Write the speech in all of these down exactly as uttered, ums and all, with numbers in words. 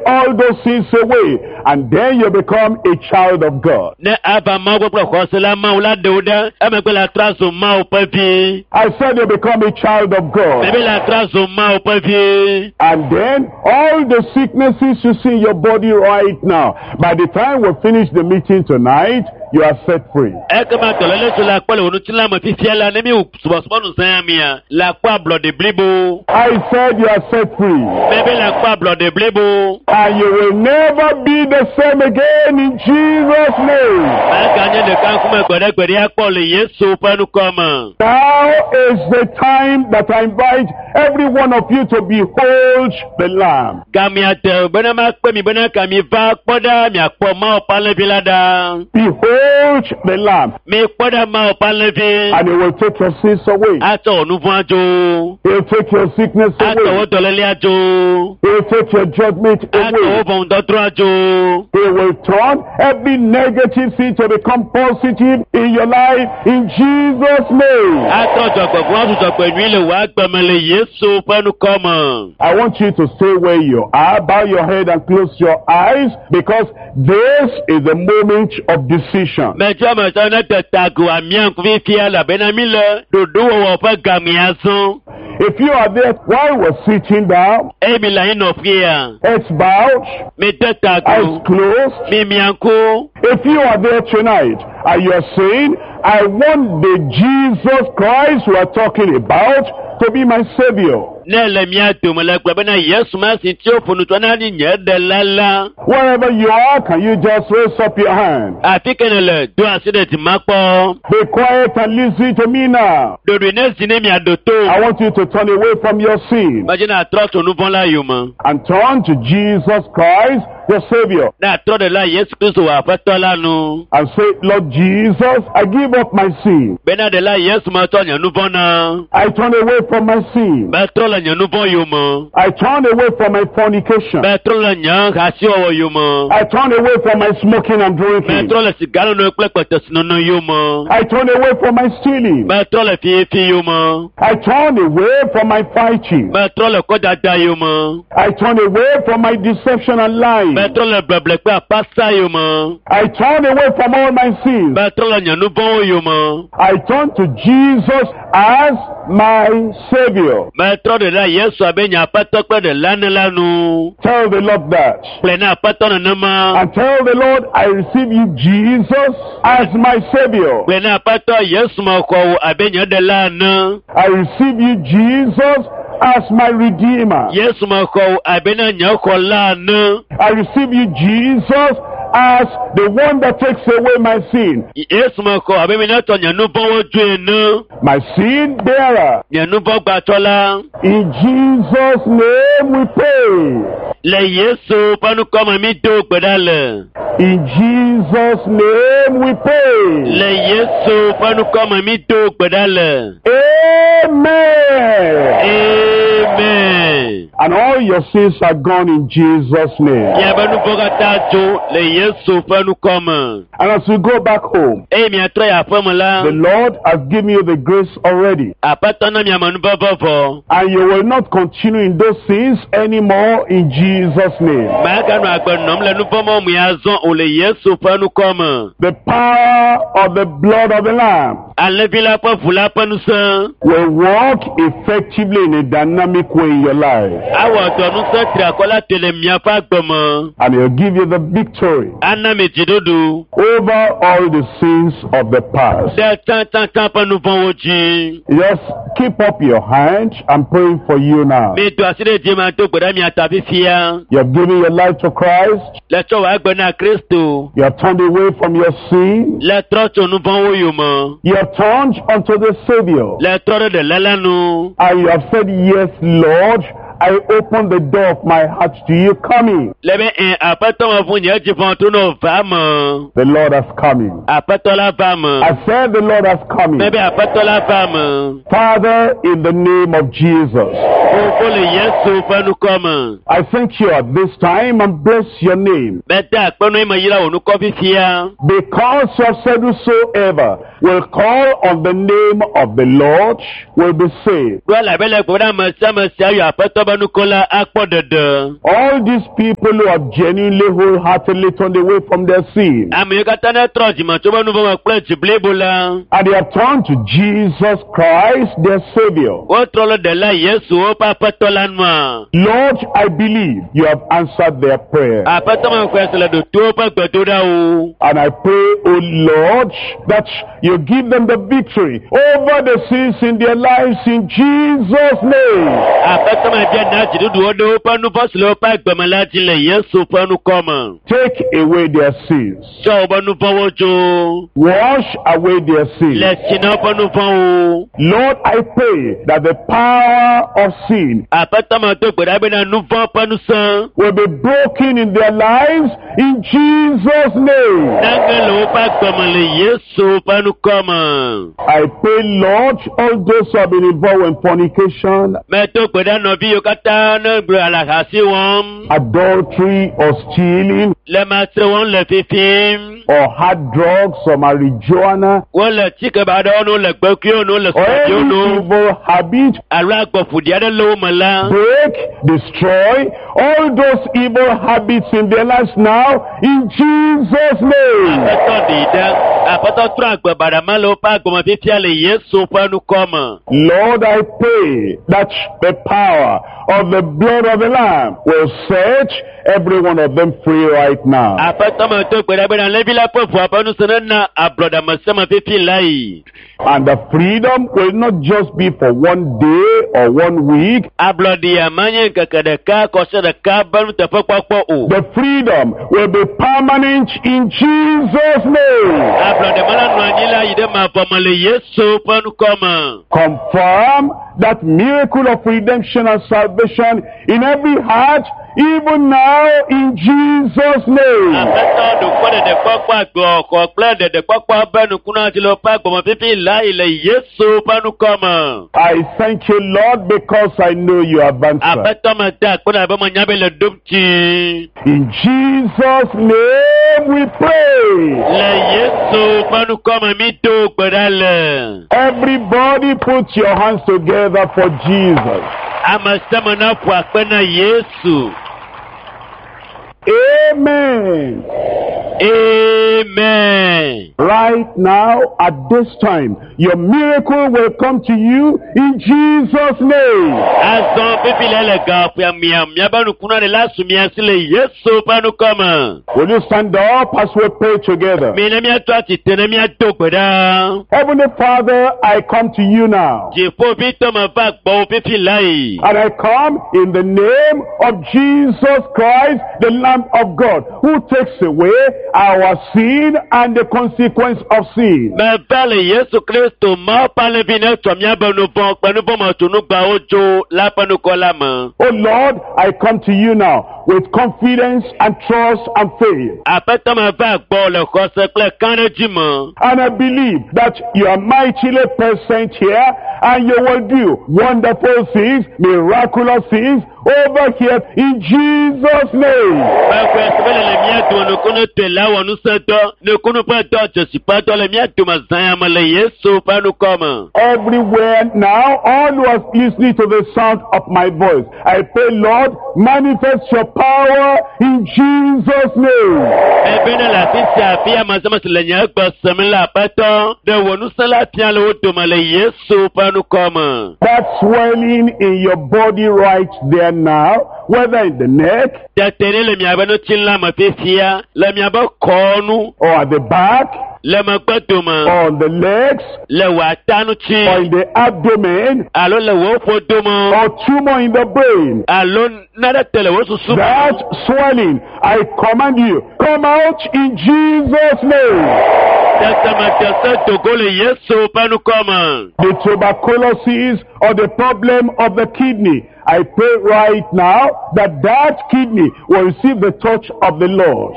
all those sins away, and then you become a child of God. Ne ava Mawu gbɔ kple xɔse la, Mawu la ɖe wo ɖe emegbe la trɔ azu Mawu ƒe vi. I said you become a child of God. Mebe la trɔ azu Mawu ƒe vi. And then all the sicknesses you see in your body right now, by the time we finish the meeting tonight, you are set free. Ekema dɔléle si le akpɔ le wò ŋutilã me fifia la, ne mi wò subɔsubɔ nu zã mia, le akpɔ ablɔɖe blibo. I said you are set free. Mebe le akpɔ ablɔɖe blibo. And you will never be the same again in Jesus' name. Maganye ɖeka ŋkume gbeɖegbeɖe akpɔ le Yesu ƒe ŋkɔ me. Now is the time that I invite every one of you to behold the Lamb. Gamea de bena makpe mi bena ka mi va kpɔ ɖa miakpɔ Mawu ƒe alẽvi la ɖa. Behold the Lamb. Mi kpɔ ɖa Mawu ƒe alẽvi. And he will take your sins away. Atsɔ wò nu vɔ̃ adzo. He'll take your sickness Atsɔ wò away. dɔléle adzo. He'll take your judgment Atsɔ wò away. ʋɔnudɔdrɔ̃ adzo. He will turn every negative thing to become positive in your life in Jesus' name. Atrɔ dzɔgbevɔ̃ azu dzɔgbenyui le wò agbe me le Yesu ƒe ŋkɔ me. I want you to stay where you are, bow your head and close your eyes, because this is the moment of decision. Metsɔ metsɔ ne te ta go amia ŋkuvi fia elabena mi le ɖoɖowɔwɔ ƒe gamea zɔ. If you are there while we're sitting down, Eye mi le anyinɔƒea, heads bowed, mi te ta eyes go, closed, mi mia ŋku. if you are there tonight and you are saying, "I want the Jesus Christ we are talking about to be my Savior." Ne le mia dome le gblɔ bena Yesu ma si tsi woƒo nu tso na ni nye ɖela la. Wherever you are, can you just raise up your hand? Afi ke ne le do asi ɖe dzi kpɔ. Be quiet and listen to me now. Ɖoɖoe ne zi ne miaɖo to. I want you to turn away from your sin Medzi na trɔ tso nu vɔ̃ la yome. and turn to Jesus Christ, your Savior, Ne atrɔ ɖe la Yesu Kristo wò aƒetɔ la nu. and say, "Lord Jesus, I give up my sin. Bena ɖe la Yesu metsɔ nye nu vɔ̃ na. I turn away from my sin. Metrɔ le nye nu vɔ̃ yome. I turn away from my fornication. Metrɔ le nye hasiwɔwɔ yome. I turn away from my smoking and drinking. Metrɔ le siganono kple kpetesinono yome. I turn away from my stealing. Metrɔ le fifi yome. I turn away from my fighting. Metrɔ le kɔdada yome. I turn away from my deception and lying. Metrɔ le bleble kple apasa yome. I turn away from all my sins. Metrɔ le nye nu vɔ̃wo yome. I turn to Jesus as my Savior." Metrɔ ɖe la Yesu abe nye aƒetɔ kple ɖela ne la nu. Tell the Lord that. Kplɔe na aƒetɔ nenema. And tell the Lord, "I receive you, Jesus, as my Savior. Kplɔe na aƒetɔ Yesu me xɔ wò abe nye ɖela ene. I receive you, Jesus, as my Redeemer. Yesu me xɔ wò abe na nye xɔla ene. I receive you, Jesus, as the one that takes away my sin, Yesu me xɔ abe mi netɔ nye nu vɔ̃wo dzoe ene. my sin bearer." Nye nu vɔ̃ gbatsɔla. In Jesus' name we pray. Le Yesu ƒe ŋkɔ me mi do gbe ɖa le. In Jesus' name we pray. Le Yesu ƒe ŋkɔ me mi do gbe ɖa le. Amen. Amen. And all your sins are gone in Jesus' name. Miaƒe nu vɔ̃ katã dzo le Yesu ƒe ŋkɔ me. And as you go back home, Eye miatrɔ yi aƒeme la, the Lord has given you the grace already. Aƒetɔ na miame nuvɔvɔ vɔ. And you will not continue in those sins anymore in Jesus' name. Maganɔ agbe nɔm le nu vɔ̃ mɔ me azɔ o le Yesu ƒe ŋkɔ me. The power of the blood of the Lamb Alẽvi la ƒe ʋu la ƒe ŋusẽ will work effectively in a dynamic way in your life. Awɔ dɔ ŋusẽ triakɔ la te le miaƒe agbe me. And he'll give you the victory Ana mi dziɖuɖu over all the sins of the past. Ɖe tsãtsãtsã ƒe nu vɔ̃wo dzi. Just keep up your hand. I'm praying for you now. Mi do asi ɖe dzi ma do gbe ɖe mia ta fifia. You have given your life to Christ. Le tsɔ wò agbe na Kristo. You have turned away from your sin. Le trɔ tso nu vɔ̃wo yome. You have turned unto the Savior. Le trɔ ɖe ɖela la nu. And you have said, "Yes, Lord, I open the door of my heart to you. Come in." Le be ɛ aƒetɔ me ʋu nye dziƒo to ne va me. The Lord has come in. Aƒetɔ la va me. I said the Lord has come Me in. be aƒetɔ la va me. Father, in the name of Jesus, Fofo le Yesu ƒe ŋkɔ me. I thank you at this time and bless your name. Mede akpe nu eme yra wò ŋkɔ fifia. Because you have said whosoever will call on the name of the Lord will be saved. Ɖo elabe le gblɔ be ame sia ame sia yɔ aƒetɔ be nukola akpɔ ɖeɖe. All these people who have genuinely, wholeheartedly turned away from their sin Ame yiwo katã ne trɔ dzime tso be nu vɔ̃ me kple dzi blibo la, and they have turned to Jesus Christ, their Savior. wotrɔ le ɖela Yesu woƒe aƒetɔ la nua. Lord, I believe you have answered their prayer. Aƒetɔ me xɔe se le ɖoto woƒe gbedoɖawo. And I pray, O Lord, that you give them the victory over the sins in their lives in Jesus' name. Aƒetɔ me bia na dziɖuɖuwo ɖe woƒe nu vɔ̃ si le woƒe agbeme la dzi le Yesu ƒe ŋkɔ me. Take away their sins. Tsɔ woƒe nu vɔ̃wo dzo. Wash away their sins. Le tsi na woƒe nu vɔ̃wo. Lord, I pray that the power of sin Aƒetɔ me do gbe ɖa bena nu vɔ̃ ƒe ŋusẽ will be broken in their lives in Jesus' name. nage le woƒe agbeme le Yesu ƒe ŋkɔ me. I pray, Lord, all those who have been involved in fornication, Medo gbe ɖa nɔvi yiwo katã ne gblɔ alahasi wɔm, adultery, or stealing, le matre wɔm le fifim, or hard drugs, or marijuana, wole tsike ba aɖewo no le gbekuiwo no le or sɔdziwo any no, evil habit, alo agbɔƒoɖi aɖe le wo me la, break, destroy all those evil habits in their lives now in Jesus' name. Aƒetɔ ɖi ɖe, Aƒetɔ trɔ agbe baɖa ma le woƒe agbeme fifia le Yesu ƒe ŋkɔ me. Lord, I pray that the power of the blood of the Lamb will set every one of them free right now. Aƒetɔ me do gbe ɖa bena Levi la ƒe ʋua ƒe ŋusẽ nena ablɔɖameseme fifi la yi. And the freedom will not just be for one day or one week. Ablɔɖia manye ŋkeke ɖeka kɔsiɖa ɖeka be nuteƒekpɔkpɔ o. The freedom will be permanent in Jesus' name. Ablɔɖe ma la nɔ anyi la yi ɖe mavɔ me le Yesu ƒe ŋkɔ me. Confirm that miracle of redemption and salvation in every heart, even now in Jesus' name. Aƒetɔ ɖokɔ ɖeɖekpɔkpɔ agbɔxɔ kple ɖeɖekpɔkpɔ be nukuna dzi le woƒe agbɔme fifi la yi le Yesu ƒe ŋkɔ me. I thank you, Lord, because I know you have answered. Aƒetɔ me da akpe na be menya be le ɖom dzi. In Jesus' name we pray. Le Yesu ƒe ŋkɔ me mi do gbe ɖa le. Everybody put your hands together for Jesus. Ame sia ame na ƒo akpe na Yesu. Amen. Amen. Right now, at this time, your miracle will come to you in Jesus' name. Azɔ fifi le le gaƒoa mia miabe nukuna ɖe la su mia si le Yesu ƒe ŋkɔ me. Will you stand up as we pray together? Mi ne miato atsitre ne miado gbe ɖa. Heavenly Father, I come to you now. Dziƒovitɔ me va gbɔwò fifi la yi. And I come in the name of Jesus Christ, the Lamb of God, who takes away our sin and the consequence of sin. Meva le Yesu Kristo Mawu ƒe alẽvi ne tsɔ míabe nu vɔ̃ kple nu vɔ̃ me tsunugbawo dzo la ƒe ŋkɔ la me. Oh Lord, I come to you now with confidence and trust and faith. Aƒetɔ meva gbɔ le xɔse kple kãɖedzi me. And I believe that you are mightily present here and you will do wonderful things, miraculous things over here in Jesus' name. Mexɔe se be le le mía dome nukunu tɔe la wɔ ŋusẽdɔ, nukunu ƒe dɔ, dzesi ƒe dɔ le mía dome zã ya me le Yesu ƒe ŋkɔ me. Everywhere now, all who are listening to the sound of my voice, I pray, Lord, manifest your power in Jesus' name. Ebe ne le afi sia afi ame sia ame si le nye gbe sem la aƒetɔ, ɖe wò ŋusẽ la fia le wo dome le Yesu ƒe ŋkɔ me. That swelling in your body right there now, whether in the neck Tete ɖe le miabe ŋutilã me fifia, le miabe kɔnu, or at the back le megbe dome, or on the legs le wò ata ŋuti, or in the abdomen alo le wò ƒodome, or tumor in the brain. alo nane te le wò susu me. That swelling, I command you, come out in Jesus' name. Tete me te se dogo le Yesu ƒe ŋkɔ me. The tuberculosis or the problem of the kidney, I pray right now that that kidney will receive the touch of the Lord.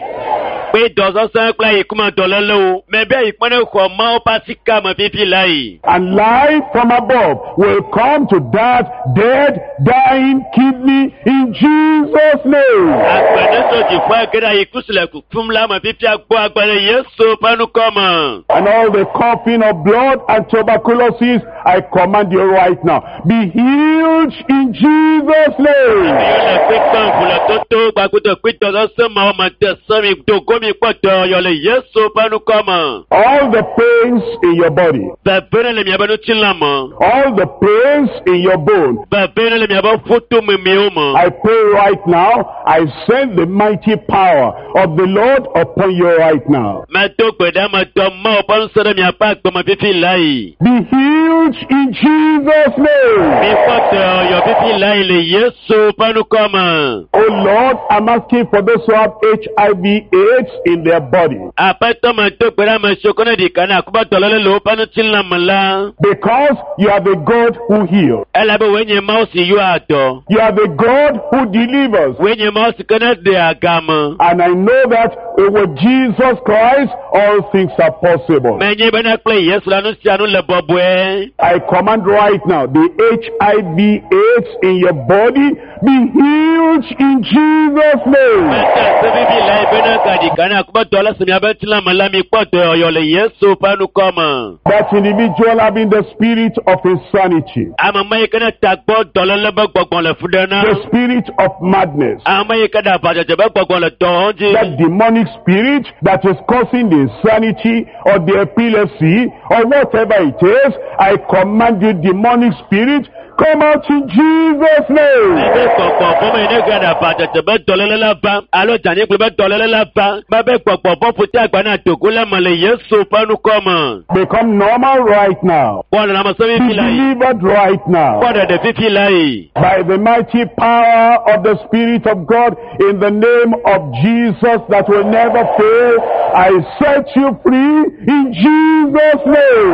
Kpe dɔsɔsɔ kple ayikuma dɔlélewo, mɛ be ayikuma ne xɔ Mawu ƒe asika me fifi la yi. And life from above will come to that dead, dying kidney in Jesus' name. Agbe ne Tso dziƒo ege ɖe ayi kusi le kukum la me fifia gbɔ agbe le Yesu ƒe ŋkɔ me. And all the coughing of blood and tuberculosis, I command you right now. Be healed in Jesus' name. Ame yiwo le kpekpe ʋu le toto gbagbodo kpetɔ sese ma wo me de se mi dogo mi kpɔ dɔyɔ le Yesu ƒe ŋkɔ me. All the pains in your body, Veve ne le miaƒe ŋutilã me. all the pains in your bone, Veve ne le miaƒe ƒutomemiwo me. I pray right now, I send the mighty power of the Lord upon you right now. Medo gbe ɖe ame dɔ Mawu ƒe ŋusẽ ɖe miaƒe agbeme fifi la yi. Be healed in Jesus' name. Mikpɔ dɔyɔ fifi la yi le Yesu ƒe ŋkɔ me. Oh Lord, I'm asking for those who have HIV AIDS in their body. Aƒetɔ medo gbe ɖe ame siwo ke ne ɖika na akuba dɔléle le woƒe ŋutilã me la. Because you are the God who heals. Elabe wòe nye Mawu si yɔa dɔ. You are the God who delivers. Wòe nye Mawu si ke ne ɖea game. And I know that with Jesus Christ, all things are possible. Menye bena kple Yesu la nu sia nu le bɔbɔe. I command right now, the HIV AIDS in your body be healed in Jesus' name. Mete se vivi la yi bena ka ɖika na akuba dɔléle si miaƒe ŋutilã me la mikpɔ dɔyɔ le Yesu ƒe ŋkɔ me. That individual having the spirit of insanity, Ame ma yi ke ne tagbɔ dɔléle be gbɔgbɔ le fu ɖe na. the spirit of madness, Ame yi ke ɖe aʋadzedze be gbɔgbɔ le dɔ wɔm dzi. that demonic spirit that is causing the insanity or the epilepsy or whatever it is, I command you, demonic spirit, come out in Jesus' name. Ebe gbɔgbɔ vɔ me ne ge ɖe aʋadzedze be dɔléle la va alo dzanyigble be dɔléle la va mebe gbɔgbɔ vɔ ƒote agba na dogo le me le Yesu ƒe ŋkɔ me. Become normal right now. Kpɔ lãmesẽ Be fifi la yi. delivered right now. Kpɔ ɖeɖe fifi la yi. By the mighty power of the Spirit of God, in the name of Jesus that will never fail, I set you free in Jesus' name.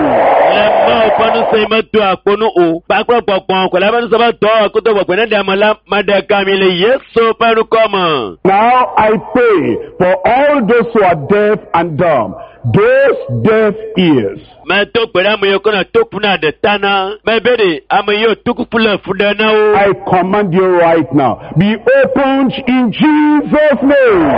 Le Mawu ƒe ŋusẽ yi medo akpo nu o. Kpakple gbɔgbɔ kɔla ƒe ŋusẽ be dɔ koto gbɔgbɔ ne ɖe ame la meɖe gami le Yesu ƒe ŋkɔ me. Now I pray for all those who are deaf and dumb, those deaf ears. Medo gbe ɖe ame yiwo ke nɔ toku na ɖe ta na. Mebe ɖe ame yiwo tokuku le fu ɖe na wo. I command you right now, be opened in Jesus' name.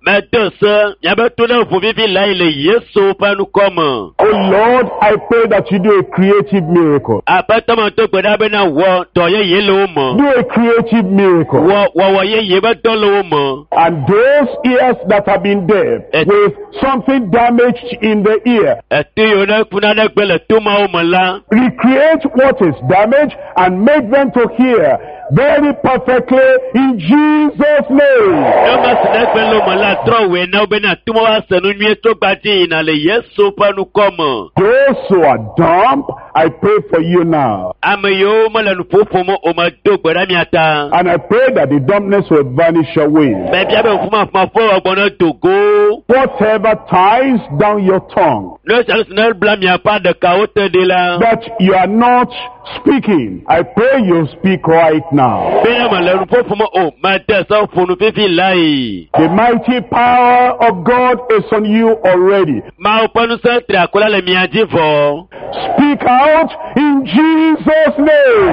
Medo se miabe to ɖe ʋu vivi la yi le Yesu ƒe ŋkɔ me. Oh Lord, I pray that you do a creative miracle. Aƒetɔ medo gbe ɖa bena wɔ dɔ yeye le wo me. Do a creative miracle. Wɔ wɔwɔ yeye be dɔ le wo me. And those ears that have been deaf Eh. with something damaged in the ear, Eto yiwo ne kuna ɖe gbe le tomawo me la. recreate what is damaged and make them to hear very perfectly in Jesus' name. Ne ma si ne gbe le wo me la trɔ wòe na wo bena tomawo ase nu nyuie tso gbadzi yina le Yesu ƒe ŋkɔ me. Those who are dumb, I pray for you now. Ame yiwo mele nu ƒoƒom o medo gbe ɖe mia ta. And I pray that the dumbness will vanish away. Mebia be ƒumafumafo wɔgbɔ ne dogo. Whatever ties down your tongue Ne sia nu si ne bla miaƒe aɖekawo te ɖi la. that you are not speaking, I pray you speak right now. Bena mele nu ƒoƒom o mede se ƒo nu fifi la yi. The mighty power of God is on you already. Mawu ƒe ŋusẽ tri akɔ la le mia dzi vɔ. Speak out in Jesus' name.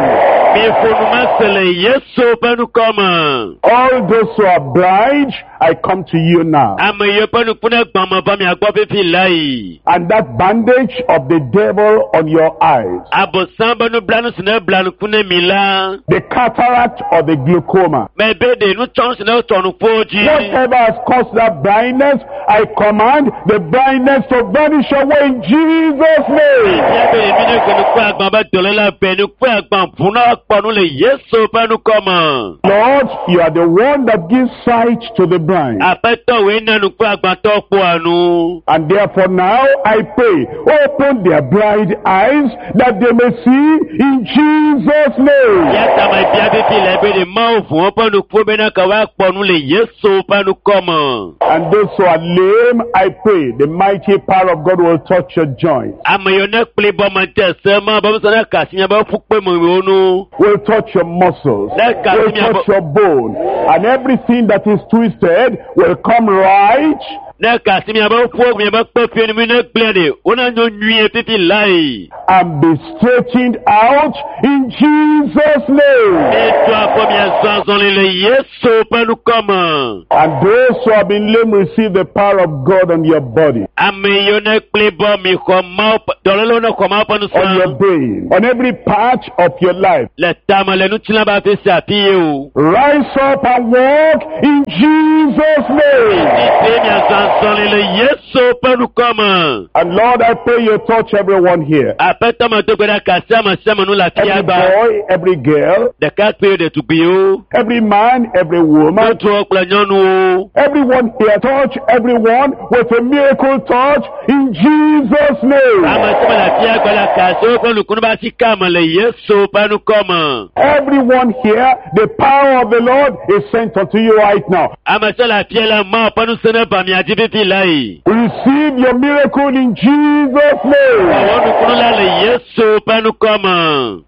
Miƒo nu mese le Yesu ƒe ŋkɔ me. All those who are blind, I come to you now. Ame yiwo ƒe nuku ne gbã me va mia gbɔ fifi la yi. And that bandage of the devil on your eyes, Abosam be nublanu si ne bla nuku ne mi la. the cataract or the glaucoma, Mebe ɖe nutsɔnu si ne tsɔ nukuwo dzi. whatever has caused that blindness, I command the blindness to vanish away in Jesus' name. Bia be ɖe mi ne ke nuku agbã be dɔléle be nuku agbã ʋu na kpɔ nu le Yesu ƒe ŋkɔ me. Lord, you are the one that gives sight to the blind. Aƒetɔ wòe na nuku agbãtɔ kpɔa nu. And therefore now I pray, open their blind eyes that they may see in Jesus' name. Ya ta mebia fifi le be ɖe Mawu ʋu woƒe nukuwo bena ke woakpɔ nu le Yesu ƒe ŋkɔ me. And those who are lame, I pray, the mighty power of God will touch your joints, Ame yiwo ne kpli bɔ me de se ma be ŋusẽ ne kasi miabe ƒukpe me wo nu. will touch your muscles, That can will be about- touch your bone, and everything that is twisted will come right Ne kasi miabe ƒuwo miabe kpeƒiwo mi ne gblẽ ɖe wona nyo nyuie fifi lae. And be straightened out in Jesus' name. Mitu afɔ miazɔ azɔli le Yesu ƒe ŋkɔme. And those who have been lame receive the power of God on your body, Ame yiwo ne kpli bɔ mi xɔ Mawu ƒe dɔlélewo ne xɔ Mawu ƒe on your ŋusẽ. brain, on every part of your life. Le tame le ŋutilã be afi sia afi ye o. Rise up and walk in Jesus' name. Tete miazɔ azɔli le Yesu ƒe ŋkɔme. And Lord, I pray you touch everyone here. Aƒetɔ me do gbe ɖa kasi ame sia ame nu le Every afia gba. boy, every girl, Ɖekakpuiwo, ɖetugbiwo, every man, every woman, ŋutsuwo kple nyɔnuwo. everyone here, touch everyone with a miracle touch in Jesus' name. Ame sia ame le afia gba la kasi woƒe nukunu be asi ka me le Yesu ƒe ŋkɔme. Everyone here, the power of the Lord is sent unto you right now. Ame sia le afia la Mawu ƒe ŋusẽ ne va mia dzi fifi lae. Receive your miracle in Jesus' name. Wɔ nukunu la le Yesu ƒe ŋkɔme.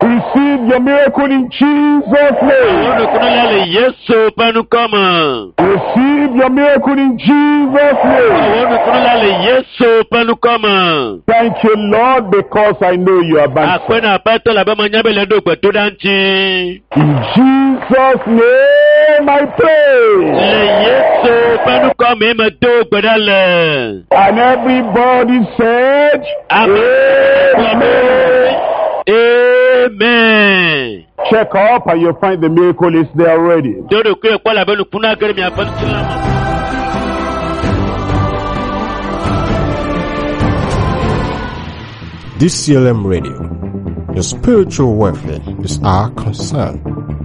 Receive your miracle in Jesus' Wɔ name. nukunu la le Yesu ƒe ŋkɔme. Receive your miracle in Jesus' name. Wɔ nukunu la le Yesu ƒe ŋkɔme. Thank you, Lord, because I know you are answered. Aƒenɔ aƒetɔ le abe menya be le ɖo gbedoɖa ŋuti. In Jesus' name I pray. Le Yesu ƒe ŋkɔme me do gbe ɖa le. And everybody said, Amen. Amen. Amen. Check up and you'll find the miracle is there already. Do ɖokui kpɔ le abe nukunu age ɖe miaƒe ŋutilã me. D C L M Radio. Your spiritual welfare is our concern.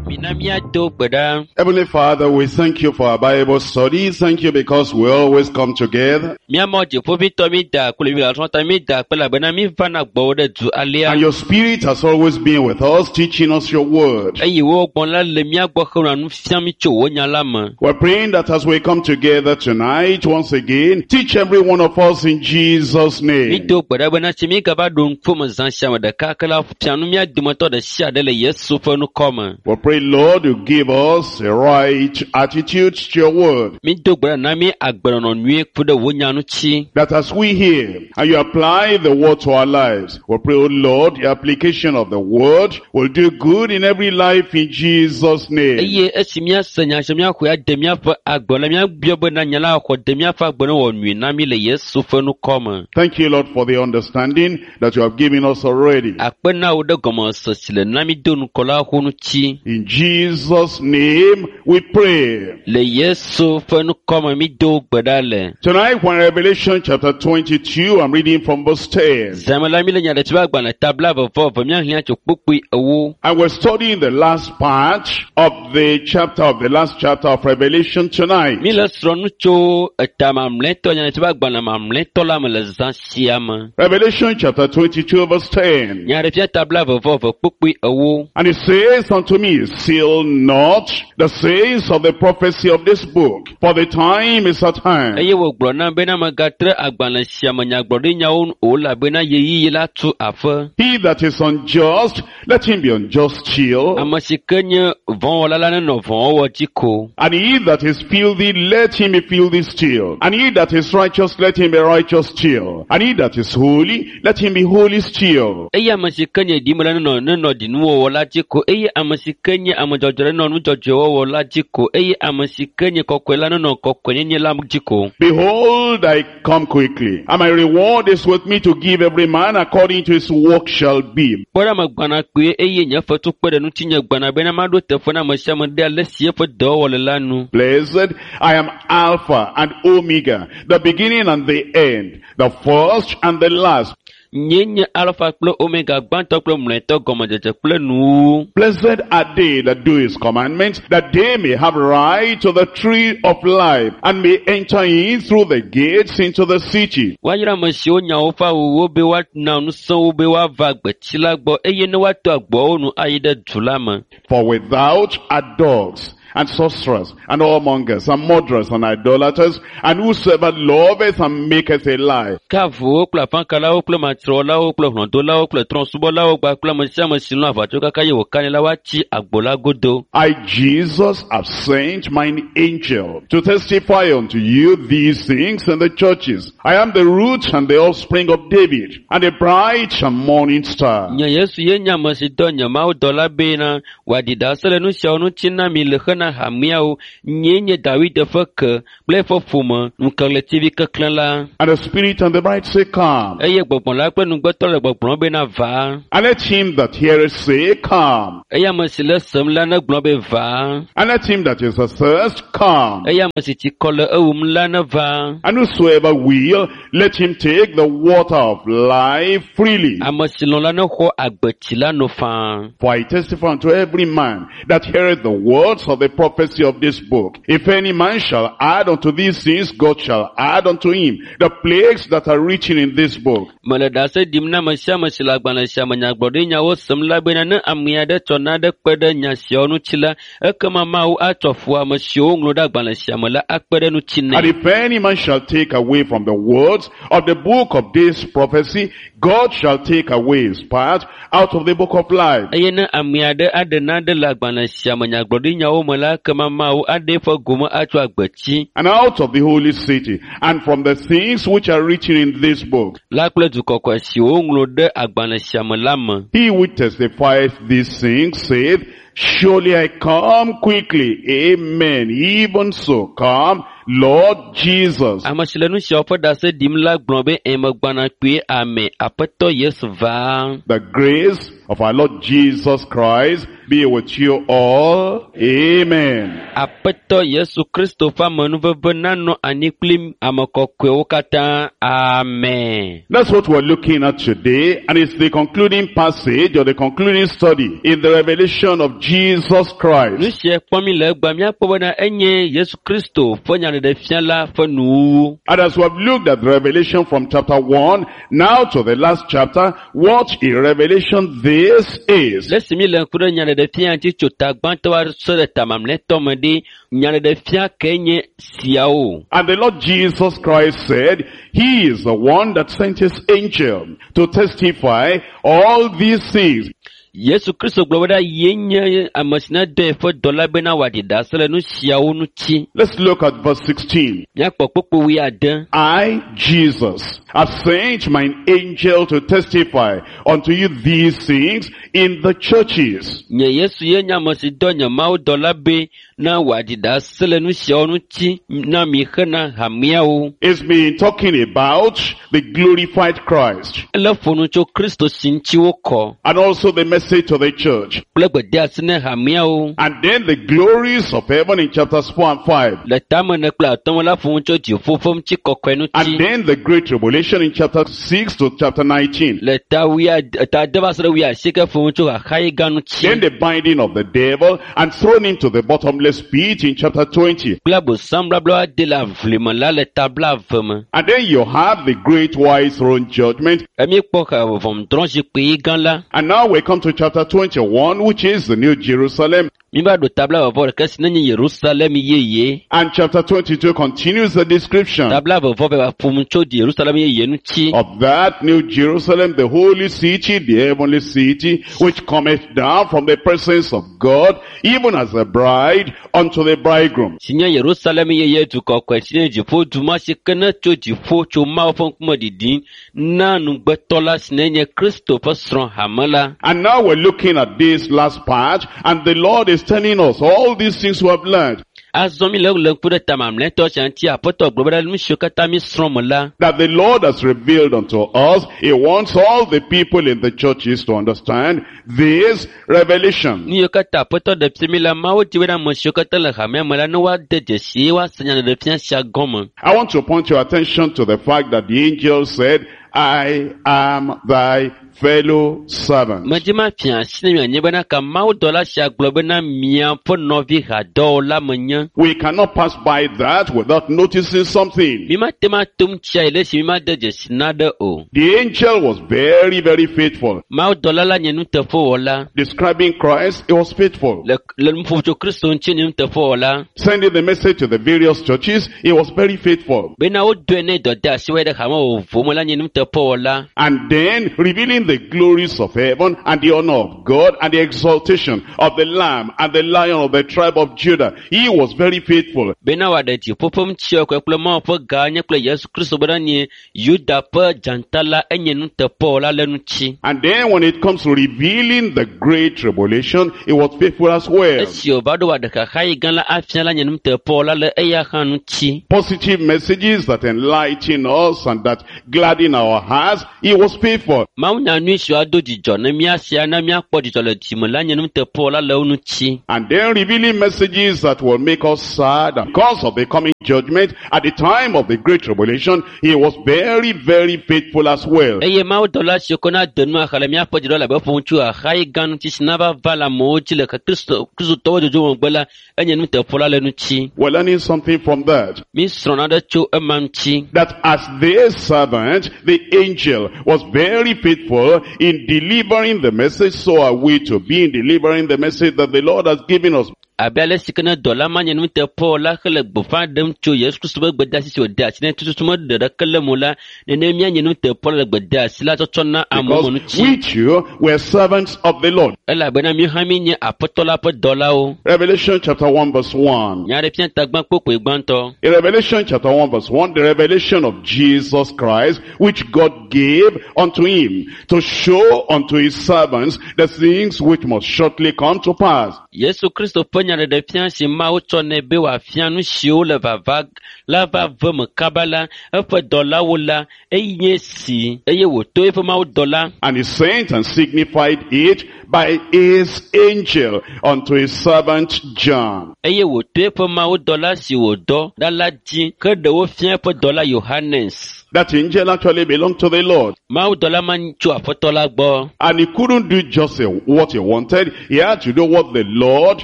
Mina míado gbe ɖa. Heavenly Father, we thank you for our Bible study. Thank you because we always come together. Míamɔ dziƒovitɔ mi da kple Biblia mi da kple elabena mi vana gbɔwò ɖe du alea. And your spirit has always been with us, teaching us your word. Eye wo gbɔn la le mía gbɔ henɔa nu fiam mi tso wò nya la me. We're praying that as we come together tonight, once again, teach every one of us in Jesus' Mi name. do gbe ɖa bena tsi mi gava ɖo ŋkume zã sia me ɖeka ke la fia nu mía dometɔ ɖe sia ɖe le Yesu ƒe ŋkɔ me. We pray, Lord, you give us a right attitude to your word. Mi do gbe ɖa na mi agbenɔnɔ nyuie ku ɖe wò nya ŋuti. That as we hear and you apply the word to our lives, we pray, O Lord, the application of the word will do good in every life in Jesus' name. Eye esi míase nya sia míaxɔe ade míaƒe agbe la míabiɔ bena nya la xɔ de míaƒe agbe ne wɔ nyui na mí le Yesu ƒe ŋkɔ me. Thank you, Lord, for the understanding that you have given us already. Akpe na wò ɖe gɔmesese si le na mí do ŋkɔ la ƒo ŋuti. In Jesus' name we pray. Le Yesu ƒe ŋkɔ me mí do gbe ɖa le. Tonight, when Revelation chapter twenty-two, I'm reading from verse ten. Zãme la mí le nyaɖeɖefia ƒe agbalẽ ta blaeve vɔ eve míaxlẽ tso kpukpui ewo. And we're studying the last part of the chapter of the last chapter of Revelation tonight. Mí le srɔ̃ nu tso eta mamlɛtɔ nyaɖeɖefia ƒe agbalẽ mamlɛtɔ la me le zã sia me. Revelation chapter twenty-two verse ten. Nyaɖeɖefia ta blaeve vɔ eve kpukpui ewo. And it says unto me, "Seal not the sayings of the prophecy of this book, for the time is at hand." Eye wògblɔ nam bena megatre agbalẽ sia me nyagblɔɖinyawo nu o elabena ɣeyiɣi la tu aƒe. "He that is unjust, let him be unjust still. Ame si ke nye vɔ̃wɔla la nenɔ vɔ̃wɔwɔ dzi ko. And he that is filthy, let him be filthy still. And he that is righteous, let him be righteous still. And he that is holy, let him be holy still." Eye ame si ke nye ɖime la nenɔ nenɔ ɖinuwɔwɔ la dzi ko. Eye ame si ke nye ame dzɔdzɔe nenɔ nu dzɔdzɔe wɔwɔ la dzi ko. Eye ame si ke nye kɔkɔe la nenɔ kɔkɔenyenye la dzi ko. "Behold, I come quickly, and my reward is with me to give every man according to his work shall be." Kpɔ ɖa megbɔna kpuie eye nye fetu kpe ɖe ŋutinye gbɔna bena maɖo teƒe na ame sia ame ɖe ale si eƒe dɔwɔwɔ le la nu. "Blessed, I am Alpha and Omega, the beginning and the end, the first and the last." Nye nye Alfa kple Omega gbãtɔ kple mlɔetɔ gɔmedzedze kple nuwuwu. "Blessed are they that do his commandments, that they may have right to the tree of life, and may enter in through the gates into the city." Woayra ame siwo nya woƒe awuwo be woana ŋusẽ wo be woava gbetsi la gbɔ eye ne woato agboawo nu ayi ɖe du la me. "For without are dogs, and sorcerers, and whoremongers, and murderers, and idolaters, and whosoever loveth and maketh a lie. Ke avuwo kple afãkalawo kple matrewɔlawo kple hlɔ̃dolawo kple trɔ̃subɔlawo kpakple ame sia ame si lɔ̃ aʋatso kaka ye wòkanɛ la woatsi agbo la godo. I, Jesus, have sent mine angel to testify unto you these things in the churches. I am the root and the offspring of David, and the bright and morning star. Nye Yesu ye nye ame si dɔ nye mawudɔla bena wòaɖi ɖase le nu siawo ŋuti na mi le xena hameawo. Nyee nye David ƒe ke kple eƒe ƒome ŋukeɣletivi keklẽ la. And the Spirit and the bride say, Come. Eye gbɔgbɔ la kple nugbetɔ le gbɔgblɔm bena va. And let him that heareth say, Come. Eye ame si le sem la negblɔ be va. And let him that is athirst come. Eye ame si tsikɔ le ewum la neva. And whosoever will, let him take the water of life freely. Ame si lɔ̃ la nexɔ agbetsi la no faa. For I testify unto every man that heareth the words of the prophecy of this book. If any man shall add unto these things, God shall add unto him the plagues that are written in this book. Mele ɖase ɖim na ame sia ame si le agbalẽ sia me nyagblɔɖinyawo sem la bena ne ame aɖe tsɔ naɖe kpe ɖe nya siawo ŋuti la, ekema Mawu atsɔ fu ame siwo woŋlɔ ɖe agbalẽ sia me la akpe ɖe ŋuti And nɛ. if any man shall take away from the words of the book of this prophecy, God shall take away his part out of the book of life. Eye ne ame aɖe aɖe naɖe le agbalẽ sia me nyagblɔɖinyawo me la, ekema Mawu aɖe eƒe gome atso agbetsi And out of the holy city, and from the things which are written in this book. la kple du kɔkɔe siwo woŋlɔ ɖe agbalẽ sia me la me. He which testifieth these things saith, Surely I come quickly. Amen. Even so, come, Lord Jesus. Ame si le nu siawo ƒe ɖase ɖim la gblɔ be emegbana kpuie ame Aƒetɔ Yesu va. The grace of our Lord Jesus Christ be with you all. Amen. Aƒetɔ Yesu Kristo ƒe amenuveve nanɔ anyi kpli ame kɔkɔewo katã. Amen. That's what we're looking at today, and it's the concluding passage or the concluding study in the revelation of Jesus Nu Christ. sia kpɔm mi le egbea míakpɔ bena enye Yesu Kristo ƒe nyaɖeɖefia la ƒe nuwuwu. And as we have looked at Revelation from chapter one now to the last chapter, what a revelation this is. Le esi mi le ŋku ɖe nyaɖeɖefia ŋuti tso ta gbãtɔ va se ɖe ta mamlɛtɔ me ɖi, nyaɖeɖefia ke nye siawo. And the Lord Jesus Christ said, He is the one that sent His angel to testify all these things. Yesu Kristo gblɔ bena ye nye ame si ne dɔ eƒe dɔla bena wòaɖi ɖase le nu siawo ŋuti. Let's look at verse sixteen. Míakpɔ kpukpui wuiade. I, Jesus, have sent mine angel to testify unto you these things in the churches. Nye Yesu ye nye ame si dɔ nye Mawu dɔla be na wòaɖi ɖase le nu siawo ŋuti na mi hena hameawo. It's been talking about the glorified Christ Ele ƒo nu tso Kristo si ŋuti wokɔ and also the message to the church. kple gbedeasi ne hameawo. And then the glories of heaven in chapters four and five. Le tame ene kple atɔ̃ me la ƒo nu tso dziƒo ƒe ŋutikɔkɔe And ŋuti. then the great tribulation in chapter six to chapter nineteen. Le ta wuiade, ta ade va se ɖe wuiasieke ƒo nu tso xaxayi gã ŋuti. Then the binding of the devil and thrown into the bottomless pit in chapter twenty. Kple abosam blabla de le aʋli me la le ta blaeve me. And then you have the great white throne judgment. Emi kpɔ xa ʋɔnudrɔ̃zikpui gã la. And now we come to chapter twenty-one, which is the New Jerusalem. Mi va ɖo ta blaeve vɔ ɖeka si ne nye Yerusalem yeye. And chapter twenty-two continues the description Ta blaeve vɔ va ƒo nu tso Yerusalem yeye ŋuti. of that New Jerusalem, the holy city, the heavenly city, which cometh down from the presence of God, even as a bride unto the bridegroom. Si nye Yerusalem yeye du kɔkɔe si nye dziƒo du ma si ke ne tso dziƒo tso Mawu ƒe ŋkume ɖiɖim na nugbetɔ la si ne nye Kristo ƒe srɔ̃ hame la. And now we're looking at this last part, and the Lord is telling us all these things we have learned, Azɔ mi le le ŋku ɖe ta mamlɛtɔ sia ŋuti Aƒetɔ gblɔ bena nu siwo katã mi srɔ̃ me la, that the Lord has revealed unto us. He wants all the people in the churches to understand this revelation. nu yiwo katã Aƒetɔ ɖe fia mi la, Mawu di bena ame siwo katã le hamea me la ne woade dzesi eye woase nyaɖeɖefia sia gɔme. I want to point your attention to the fact that the angel said, I am thy fellow servant. Medzi ma fia asi ne mianye bena ka mawudɔla sia gblɔ bena miaƒe nɔvi hadɔwɔla menye. We cannot pass by that without noticing something. Mi mate ma tom tsia yi le esi mi made dzesi naɖe o. The angel was very, very faithful. Mawudɔla la nye nuteƒewɔla. Describing Christ, he was faithful. Le le nuƒoƒo tso Kristo ŋuti nye nuteƒewɔla. Sending the message to the various churches, he was very faithful. Bena wodoe ne dɔde asi wɔe ɖe hame vovovowo me la nye nuteƒewɔla. And then revealing the glories of heaven and the honor of God and the exaltation of the Lamb and the Lion of the tribe of Judah. He was very faithful. Bena wòaɖe dziƒo ƒe ŋutiɔkɔe kple Mawu ƒe gã nye kple Yesu Kristo bena nye Yuda ƒe dzata la enye nuteƒewɔla le ŋuti. And then when it comes to revealing the great tribulation, he was faithful as well. Esi wòva ɖo wòaɖe xaxa yi gã la afia la nye nuteƒewɔla le eya hã ŋuti. Positive messages that enlighten us and that gladden our hearts, he was faithful. Mawunya nyui siwo ado dzidzɔ ne míasia na míakpɔ dzidzɔ le dzime la nye nuteƒewɔla le wo ŋuti. And then revealing messages that will make us sad because of the coming judgment at the time of the great tribulation, he was very, very faithful as well. Eye mawudɔla siwo ke na de nu axa le míaƒe dziɖɔ le abe ƒo ŋutsu xaxa yi gã ŋuti si nava va le amewo dzi le Kristo Kristotɔwo dzodzo megbe la enye nuteƒewɔla le ŋuti. We're learning something from that. Mi srɔ̃ naɖe tso ema ŋuti. That as their servant, the angel was very faithful in delivering the message, so are we to be in delivering the message that the Lord has given us. Abe ale si ke ne dɔla ma nye nuteƒewɔla hele gbeƒã ɖem tso Yesu Kristo ƒe gbedeasi si wòde asi ne tututu meɖe ɖeke le eme o la, nene míanye nuteƒewɔla le gbedeasi la tsɔtsɔ na amewo me Because ŋuti. we too were servants of the Lord. Elabena míawo hã míenye Aƒetɔ la ƒe dɔlawo. Revelation chapter one verse one. Nyaɖeƒia tagbã kpokpoe gbãtɔ. In Revelation chapter one verse one, the revelation of Jesus Christ, which God gave unto him to show unto his servants the things which must shortly come to pass. Yesu Kristo ƒe nyaɖeɖefia si Mawu tsɔ nɛ be wòafia nu siwo le vava la va ve me kaba la, eƒe dɔlawo la, enye si eye wòto eƒe Mawu dɔla And he sent and signified it by his angel unto his servant John. Eye wòto eƒe Mawu dɔla si wòdɔ ɖa la dzi ke ɖe wofia eƒe dɔla Yohanes. That angel actually belonged to the Lord. Mawu dɔla ma tso Aƒetɔ la gbɔ. And he couldn't do just what he wanted. He had to do what the Lord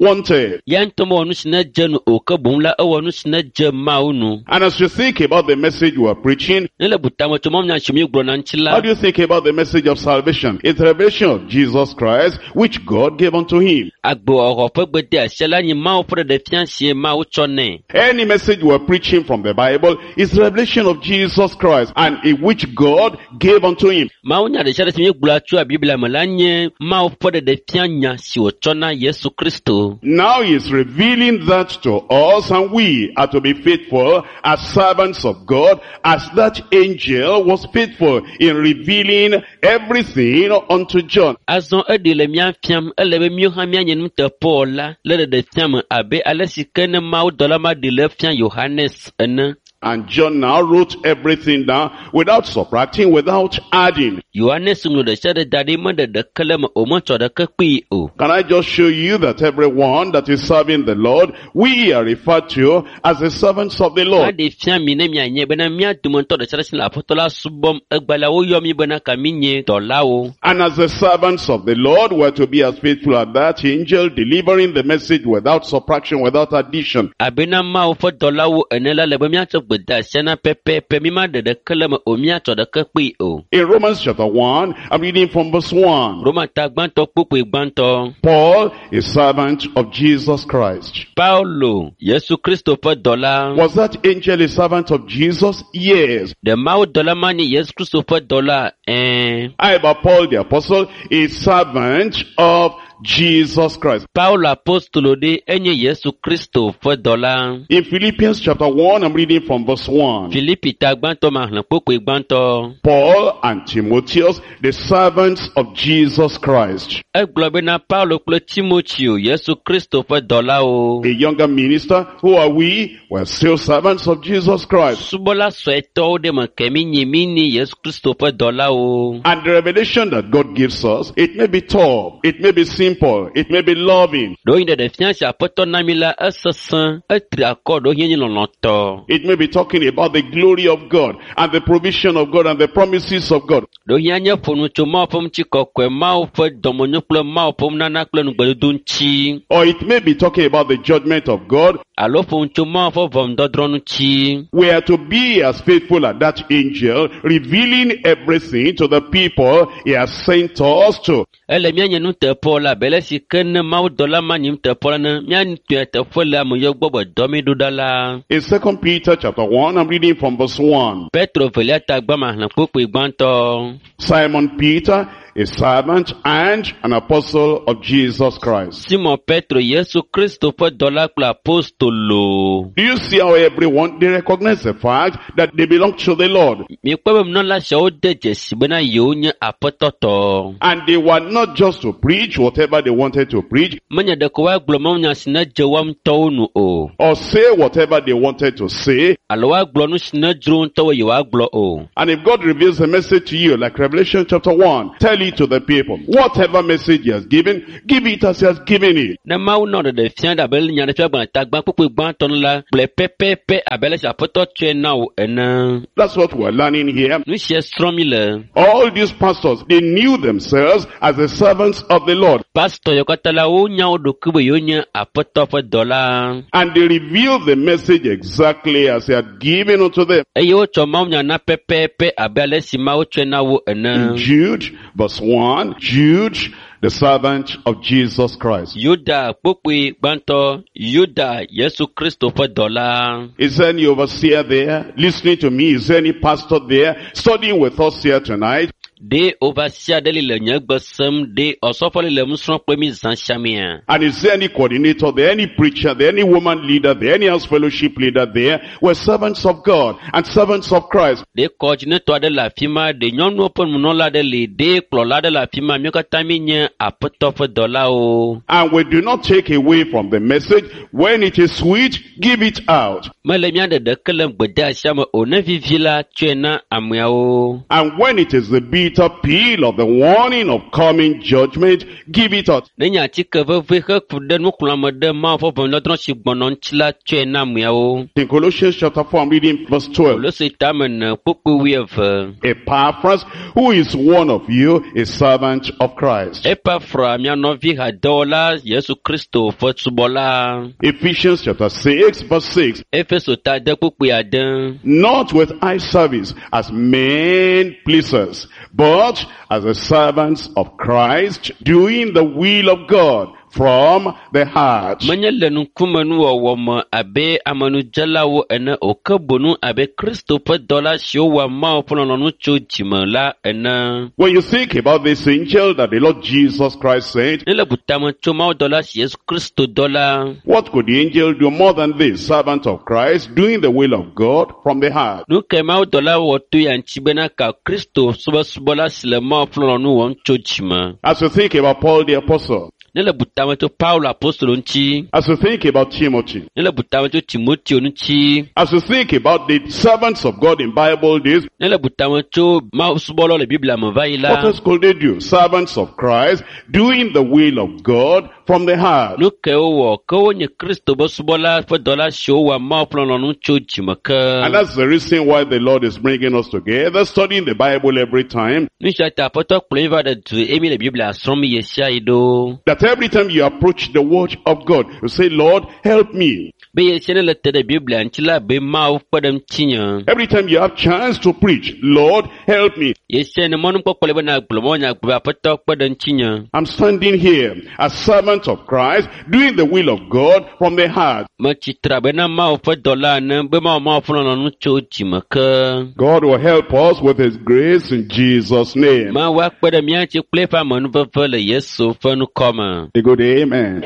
wanted. Ya ŋutɔ mewɔ nu si ne dze nu o ke boŋ la ewɔ nu si ne dze Mawu nu. And as you think about the message we are preaching, Ne le butame tso mawunya si míegblɔna ŋuti la, how do you think about the message of salvation? It's the revelation of Jesus Christ, which God gave unto him. Agbewɔwɔ ƒe gbedeasia la nye Mawu ƒe ɖeɖefia si Mawu tsɔ nɛ. Any message we are preaching from the Bible is the revelation of Jesus Christ, and in which God gave unto him. Mawunya ɖe sia ɖe si míegblɔa tso Biblia me la nye Mawu ƒe ɖeɖefia nya si wòtsɔ na Yesu Kristo. Now he is revealing that to us, and we are to be faithful as servants of God, as that angel was faithful in revealing everything unto John. Azɔ eɖi le mía fiam ele be míawo hã míanye nuteƒewɔla le ɖeɖefia me abe ale si ke ne mawudɔla ma ɖi le fia Yohanes ene. And John now wrote everything down without subtracting, without adding. Yohanes ŋlɔ ɖe sia ɖe da ɖi meɖe ɖeke le eme o metsɔ ɖeke kpee o. Can I just show you that everyone that is serving the Lord, we are referred to as the servants of the Lord. Aɖe fia mi ne mianye bena mía dometɔ ɖe sia ɖe si le Aƒetɔ la subɔm egbe la woyɔ mí bena ka mí nye dɔlawo. And as the servants of the Lord were to be as faithful as that angel, delivering the message without subtraction, without addition. Abena Mawu ƒe dɔlawo ene la le be míatsɔ gbedeasia na pɛpɛpɛ mi ma ɖe ɖeke le eme o míatsɔ ɖeke kpee o. In Romans chapter one, I'm reading from verse one. Roma ta gbãtɔ kpukpui gbãtɔ. Paul, a servant of Jesus Christ. Paulo, Yesu Kristo ƒe dɔla. Was that angel a servant of Jesus? Yes. Ɖe Mawu dɔla ma nye Yesu Kristo ƒe dɔla? Ɛ̃. How about Paul the apostle, a servant of Jesus Christ? Paulo apostolo ɖe enye Yesu Kristo ƒe dɔla. In Philippians chapter one, I'm reading from verse one. Filipi ta gbãtɔ ma xlẽ kpukpui gbãtɔ. Paul and Timotheus, the servants of Jesus Christ. Egblɔ bena Paulo kple Timoteo, Yesu Kristo ƒe dɔlawo. A younger minister, who are we? We're still servants of Jesus Christ. Subɔla suetɔwo ɖe me ke mi nye mi nye Yesu Kristo ƒe dɔlawo. And the revelation that God gives us, it may be tough, it may be simple, simple, it may be loving, Ɖewohĩ ɖeɖefia si aƒetɔ na mi la esesẽ, etri akɔ ɖewohĩ enye lɔlɔ̃tɔ. it may be talking about the glory of God and the provision of God and the promises of God. Ɖewohĩ anye ƒo nu tso Mawu ƒe ŋutikɔkɔe, Mawu ƒe dɔmenyo kple Mawu ƒe nunana kple nugbedodo ŋuti. Or it may be talking about the judgment of God. Alo ƒo nu tso Mawu ƒe ʋɔnudɔdrɔ̃ ŋuti. We are to be as faithful as that angel, revealing everything to the people he has sent us to. Ele míanye nuteƒewɔla abe ale si ke ne mawudɔla ma nyi nuteƒewɔla ne míatɔe teƒe le ame yiwo gbɔ be dɔ mí ɖo ɖa la. In Second Peter chapter one, I'm reading from verse one. Petro velia ta gbama xlẽ kpukpui gbãtɔ. Simon Peter, a servant and an apostle of Jesus Christ. Simon Petro, Yesu Kristo ƒe dɔla kple apostolo. Do you see how everyone, they recognize the fact that they belong to the Lord? Mikpɔ be nunɔla siawo de dzesi bena yewo nye aƒetɔ tɔ. And they were not just to preach whatever they wanted to preach Menye ɖeko woagblɔ mawunya si ne dze woa ŋutɔwo nu o. or say whatever they wanted to say. Alo woagblɔ nu si ne dzro ŋutɔwo yewoagblɔ o. And if God reveals a message to you, like Revelation chapter one, tell it to the people. Whatever message he has given, give it as he has given it. Ne Mawu nɔ ɖeɖe fia ɖe abe nyaɖeƒe agbalẽ ta gbã kpukpui gbãtɔ nu la, gblɔe pɛpɛpɛ abe ale si aƒetɔ tsɔe na wò ene. That's what we're learning here. Nu sia srɔ̃m mi le. All these pastors, they knew themselves as the servants of the Lord. Pastɔ yawo katã la, wonya wo ɖokui be yewonye aƒetɔ ƒe dɔla. And they revealed the message exactly as he had given unto them. Eye wotsɔ mawunya na pɛpɛpɛ abe ale si Mawu tsɔe na wo In ene. Jude, verse one, Jude, the servant of Jesus Christ. Yuda kpukpui gbãtɔ, Yuda Yesu Kristo ƒe dɔla. Is there any overseer there listening to me? Is there any pastor there studying with us here tonight? Ɖe overseer ɖe li le nye gbe sem, ɖe ɔsɔfo li le nu srɔ̃m kple mi zã sia mea? And is there any coordinator there, any preacher there, any woman leader there, any house fellowship leader there? We're servants of God and servants of Christ. Ɖe kɔdzinetɔ aɖe le afi ma, ɖe nyɔnuwo ƒe nunɔla aɖe li, ɖe kplɔla aɖe le afi ma, míawo katã míenye aƒetɔ ƒe dɔlawo. And we do not take away from the message. When it is sweet, give it out. Mele mía ɖe ɖeke le gbedeasia me o, ne vivi la, tsɔe na ameawo. And when it is the bitter pill of the warning of coming judgment, give it out. Ne nye atike veve heku ɖe nuxlɔ̃ame ɖe Mawu ƒe ʋɔnudɔdrɔ̃ si gbɔnɔ ŋuti la, tsɔe na ameawo. In Colossians chapter four, I'm reading verse twelve. Kolose tame ene kpukpui wuieve. Epaphras, who is one of you, a servant of Christ. Epafra, mia nɔvi hadɔwɔla Yesu Kristo ƒe subɔla. Ephesians chapter six, verse six. Efeso ta ade kpukpui ade. Not with eye service as men pleasers, but as the servants of Christ, doing the will of God from the heart. Menye le ŋkumenuwɔwɔ me abe amenudzelawo ene o, ke boŋ abe Kristo ƒe dɔla siwo wɔa Mawu ƒe lɔlɔ̃nu tso dzime la ene. When you think about this angel that the Lord Jesus Christ sent, Ne le bu tame tso mawudɔla si Yesu Kristo dɔ la, what could the angel do more than this, servant of Christ, doing the will of God from the heart? nu kae mawudɔla wɔ to ya ŋuti bena ka Kristo subɔsubɔla si le Mawu ƒe lɔlɔ̃nu wɔm tso dzime? As you think about Paul the apostle, Ne le bu tame tso Paulo apostolo ŋuti, as you think about Timothy, ne le bu tame tso Timoteo ŋuti, as you think about the servants of God in Bible days, ne le bu tame tso Mawu subɔlawo le Biblia me va yi what la, else could they do? Servants of Christ, doing the will of God from the heart. nu kae wowɔ? Ke wonye Kristo ƒe subɔla ƒe dɔla siwo wɔa Mawu ƒe lɔlɔ̃nu tso dzime ke. And that's the reason why the Lord is bringing us together, studying the Bible every time, Nu sia ta Aƒetɔ kplɔ mí va ɖe du eye mi le Biblia srɔ̃m ɣe sia ɣi ɖo. that every time you approach the word of God, you say, Lord, help me. Be ɣe sia ne le te ɖe Biblia ŋuti la, be Mawu kpe ɖe ŋutinye. Every time you have chance to preach, Lord, help me. Ɣe sia ne mɔnukpɔkpɔ le bena gblɔ mawunya gblɔ be Aƒetɔ kpe ɖe ŋutinye. I'm standing here as servant of Christ, doing the will of God from the heart. Metsi tre abe na Mawu ƒe dɔla ene be mawɔ Mawu ƒe lɔlɔ̃nu tso dzime ke. God will help us with his grace in Jesus' name. Mawu akpe ɖe mía ŋuti kple eƒe amenuveve le Yesu ƒe ŋkɔ me. A good amen.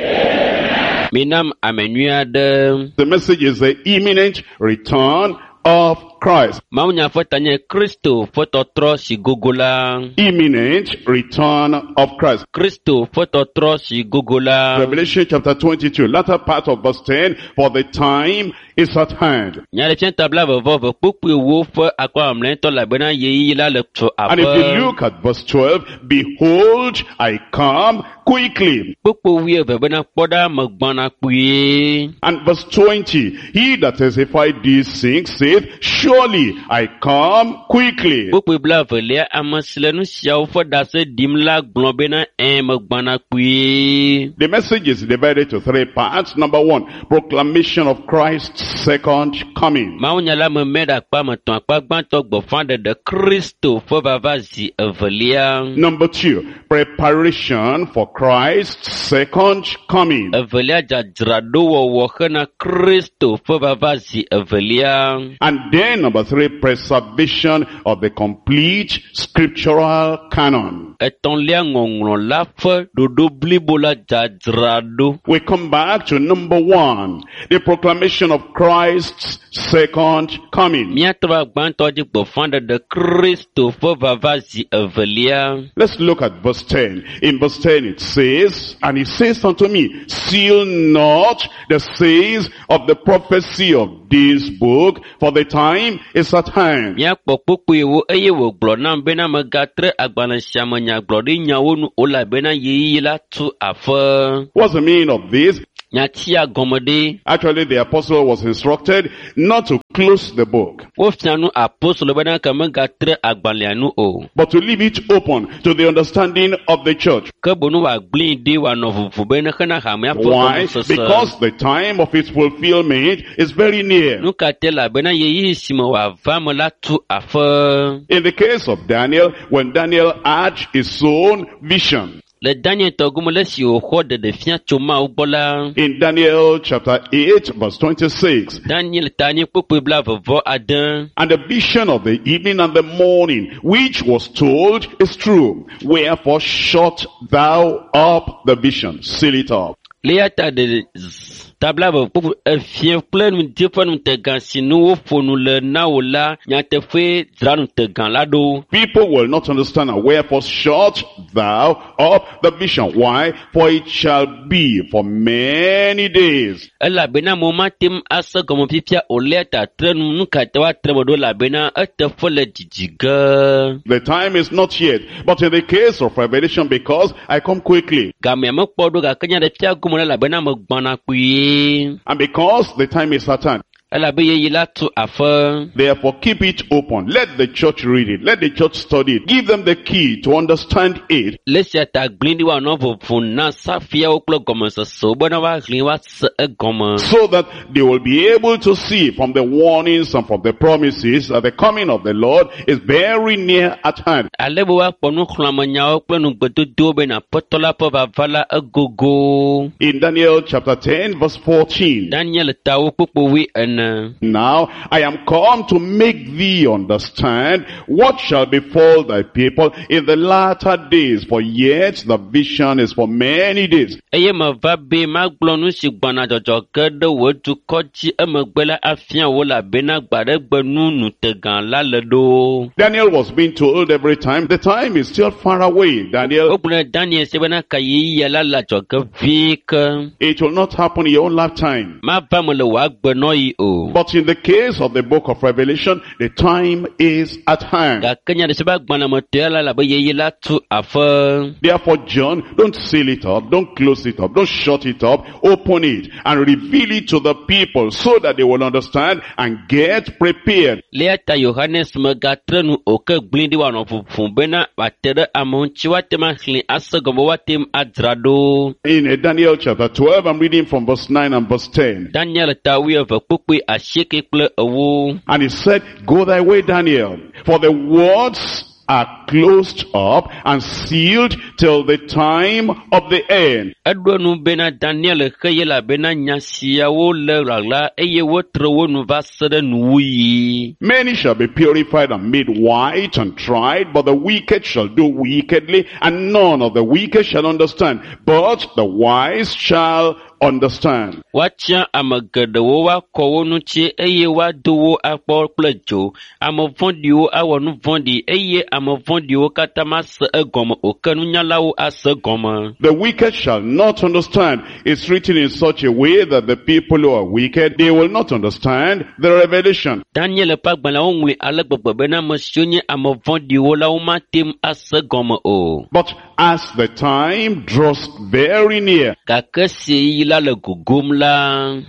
Minam ame nyui aɖe. The message is the imminent return of Christ. Mawunya ƒe ta nye Kristo ƒe tɔtrɔ si gogo la. Imminent return of Christ. Kristo ƒe tɔtrɔ si gogo la. Revelation chapter twenty-two, latter part of verse ten, for the time is at hand. Nyaɖeɖefia ta blaeve vɔ eve kpukpui ewo ƒe akpa mamlɛtɔ elabena ɣeyiɣi la le tso And if aƒe. you look at verse twelve, behold, I come quickly. Kpukpui wuieve bena kpɔ ɖa megbɔna kpuie. And verse twenty, he that testified these things saith, surely I come quickly. Kpukpui blaevelia, ame si le nu siawo ƒe ɖase ɖim la gblɔ bena ẽ megbɔna kpuie. The message is divided to three parts. Number one, proclamation of Christ's second coming. Mawunya la me mɛ ɖe akpa me etɔ̃. Akpa gbãtɔ gbeƒãɖeɖe Kristo ƒe vava zi evelia. Number two, preparation for Christ's second coming. Evelia dzadzraɖowɔwɔ hena Kristo ƒe vava zi evelia. And then number three, preservation of the complete scriptural canon. Etɔ̃lia ŋɔŋlɔ la ƒe ɖoɖo blibo la dzadzraɖo. We come back to number one, the proclamation of Christ's second coming. Míatrɔ va gbãtɔ dzi gbeƒãɖeɖe Kristo ƒe vava zi evelia. Let's look at verse ten. In verse ten it says, and he says unto me, seal not the sayings of the prophecy of this book, for the time is at hand. Míakpɔ kpukpuiwo eye wògblɔ nam bena megatre agbalẽ sia me nyagblɔɖinyawo nu o elabena ɣeyiɣi la tu aƒe. What's the meaning of this? Nyatia gɔme ɖe. Actually, the apostle was instructed not to close the book, Wofia nu apostolo bena ke megatre agbalẽa nu o. but to leave it open to the understanding of the church. Ke boŋ wòagblẽe ɖi wòanɔ vovo bena hena hamea ƒe Why? gɔmesese. Because the time of its fulfillment is very near. Nu ka te elabena ɣeyiɣi si me wòava me la tu aƒe. In the case of Daniel, when Daniel had his own vision, Le Daniel tɔ gome le esi wòxɔ ɖeɖefia tso Mawu gbɔ la, in Daniel chapter eight verse twenty-six, Daniel ta anyi kpukpui blaeve vɔ ade. and the vision of the evening and the morning, which was told, is true. Wherefore shut thou up the vision, seal it up. Le eya ta ɖe z- ta blaeve kpukpui efie kple ŋdi ƒe ŋutegã si nu woƒo nu le na wò la, nyateƒee dzra ŋutegã la ɖo. People will not understand, and wherefore shut thou up the vision. Why? For it shall be for many days. Elabena amewo mate ŋu ase gɔme fifia o le eya ta tre nu, nu ka ta woatre me ɖo elabena eteƒe le dzidzi ge. The time is not yet, but in the case of Revelation, because I come quickly, Gamea mekpɔ ɖo gake nyaɖefia gome la elabena megbɔna kpuie. and because the time is at hand, Elabe ɣeyiɣi la tu aƒe. therefore keep it open. Let the church read it. Let the church study it. Give them the key to understand it. Le esia ta gblẽ ɖi woanɔ vovo na safiawo kple gɔmesesewo bena woaxlẽ woase egɔme. So that they will be able to see from the warnings and from the promises that the coming of the Lord is very near at hand. Ale be woakpɔ nuxlɔ̃amenyawo kple nugbedodowo bena Aƒetɔ la ƒe vava la egogo. In Daniel chapter ten verse fourteen. Daniel ta wo kpukpui wui ene. Now I am come to make thee understand what shall befall thy people in the latter days, for yet the vision is for many days. Eye meva be magblɔ nu si gbɔna dzɔdzɔ ge ɖe wò dukɔ dzi emegbe la afia wò elabena gbe aɖe gbe nu ŋutegã la le ɖo. Daniel was being told every time, the time is still far away. Daniel, Wogblɔ na Daniel se bena ka ɣeyiɣia la le adzɔge vie ke. it will not happen in your own lifetime. Mava me le wò agbenɔɣi o. But in the case of the book of Revelation, the time is at hand. Gake nya ɖe si be agbalẽ me tɔe la elabe ɣeyiɣi la tu aƒe. Therefore, John, don't seal it up, don't close it up, don't shut it up, open it and reveal it to the people so that they will understand and get prepared. Le eya ta Yohanes megatre nu o ke gblẽ ɖi wòanɔ ʋuʋum bena wòate ɖe amewo ŋuti woate ŋu axlẽ ase gɔme woate ŋu adzra ɖo. In uh, Daniel chapter twelve, I'm reading from verse nine and verse ten. Daniel ta wuieve kpukpui asieke kple ewo. And he said, go thy way, Daniel, for the words are closed up and sealed till the time of the end. Eɖo nu bena Daniel xe elabena nya siawo le ɣaɣla eye wotre wo nu va se ɖe nuwuɣi. Many shall be purified and made white and tried, but the wicked shall do wickedly, and none of the wicked shall understand, but the wise shall understand. Woatia ame geɖewo woakɔ wo ŋuti eye woado wo akpɔ kple dzo. Ame vɔ̃ɖiwo awɔ nu vɔ̃ɖi eye ame vɔ̃ɖiwo katã mase egɔme o ke nunyalawo ase egɔme. The wicked shall not understand. It's written in such a way that the people who are wicked, they will not understand the revelation. Daniel ƒe agbalẽa woŋlɔe ale gbegbe bena ame siwo nye ame vɔ̃ɖiwo la womate ŋu ase egɔme o. But as the time draws very near, Gake esi ɣeyiɣi la le gogom la,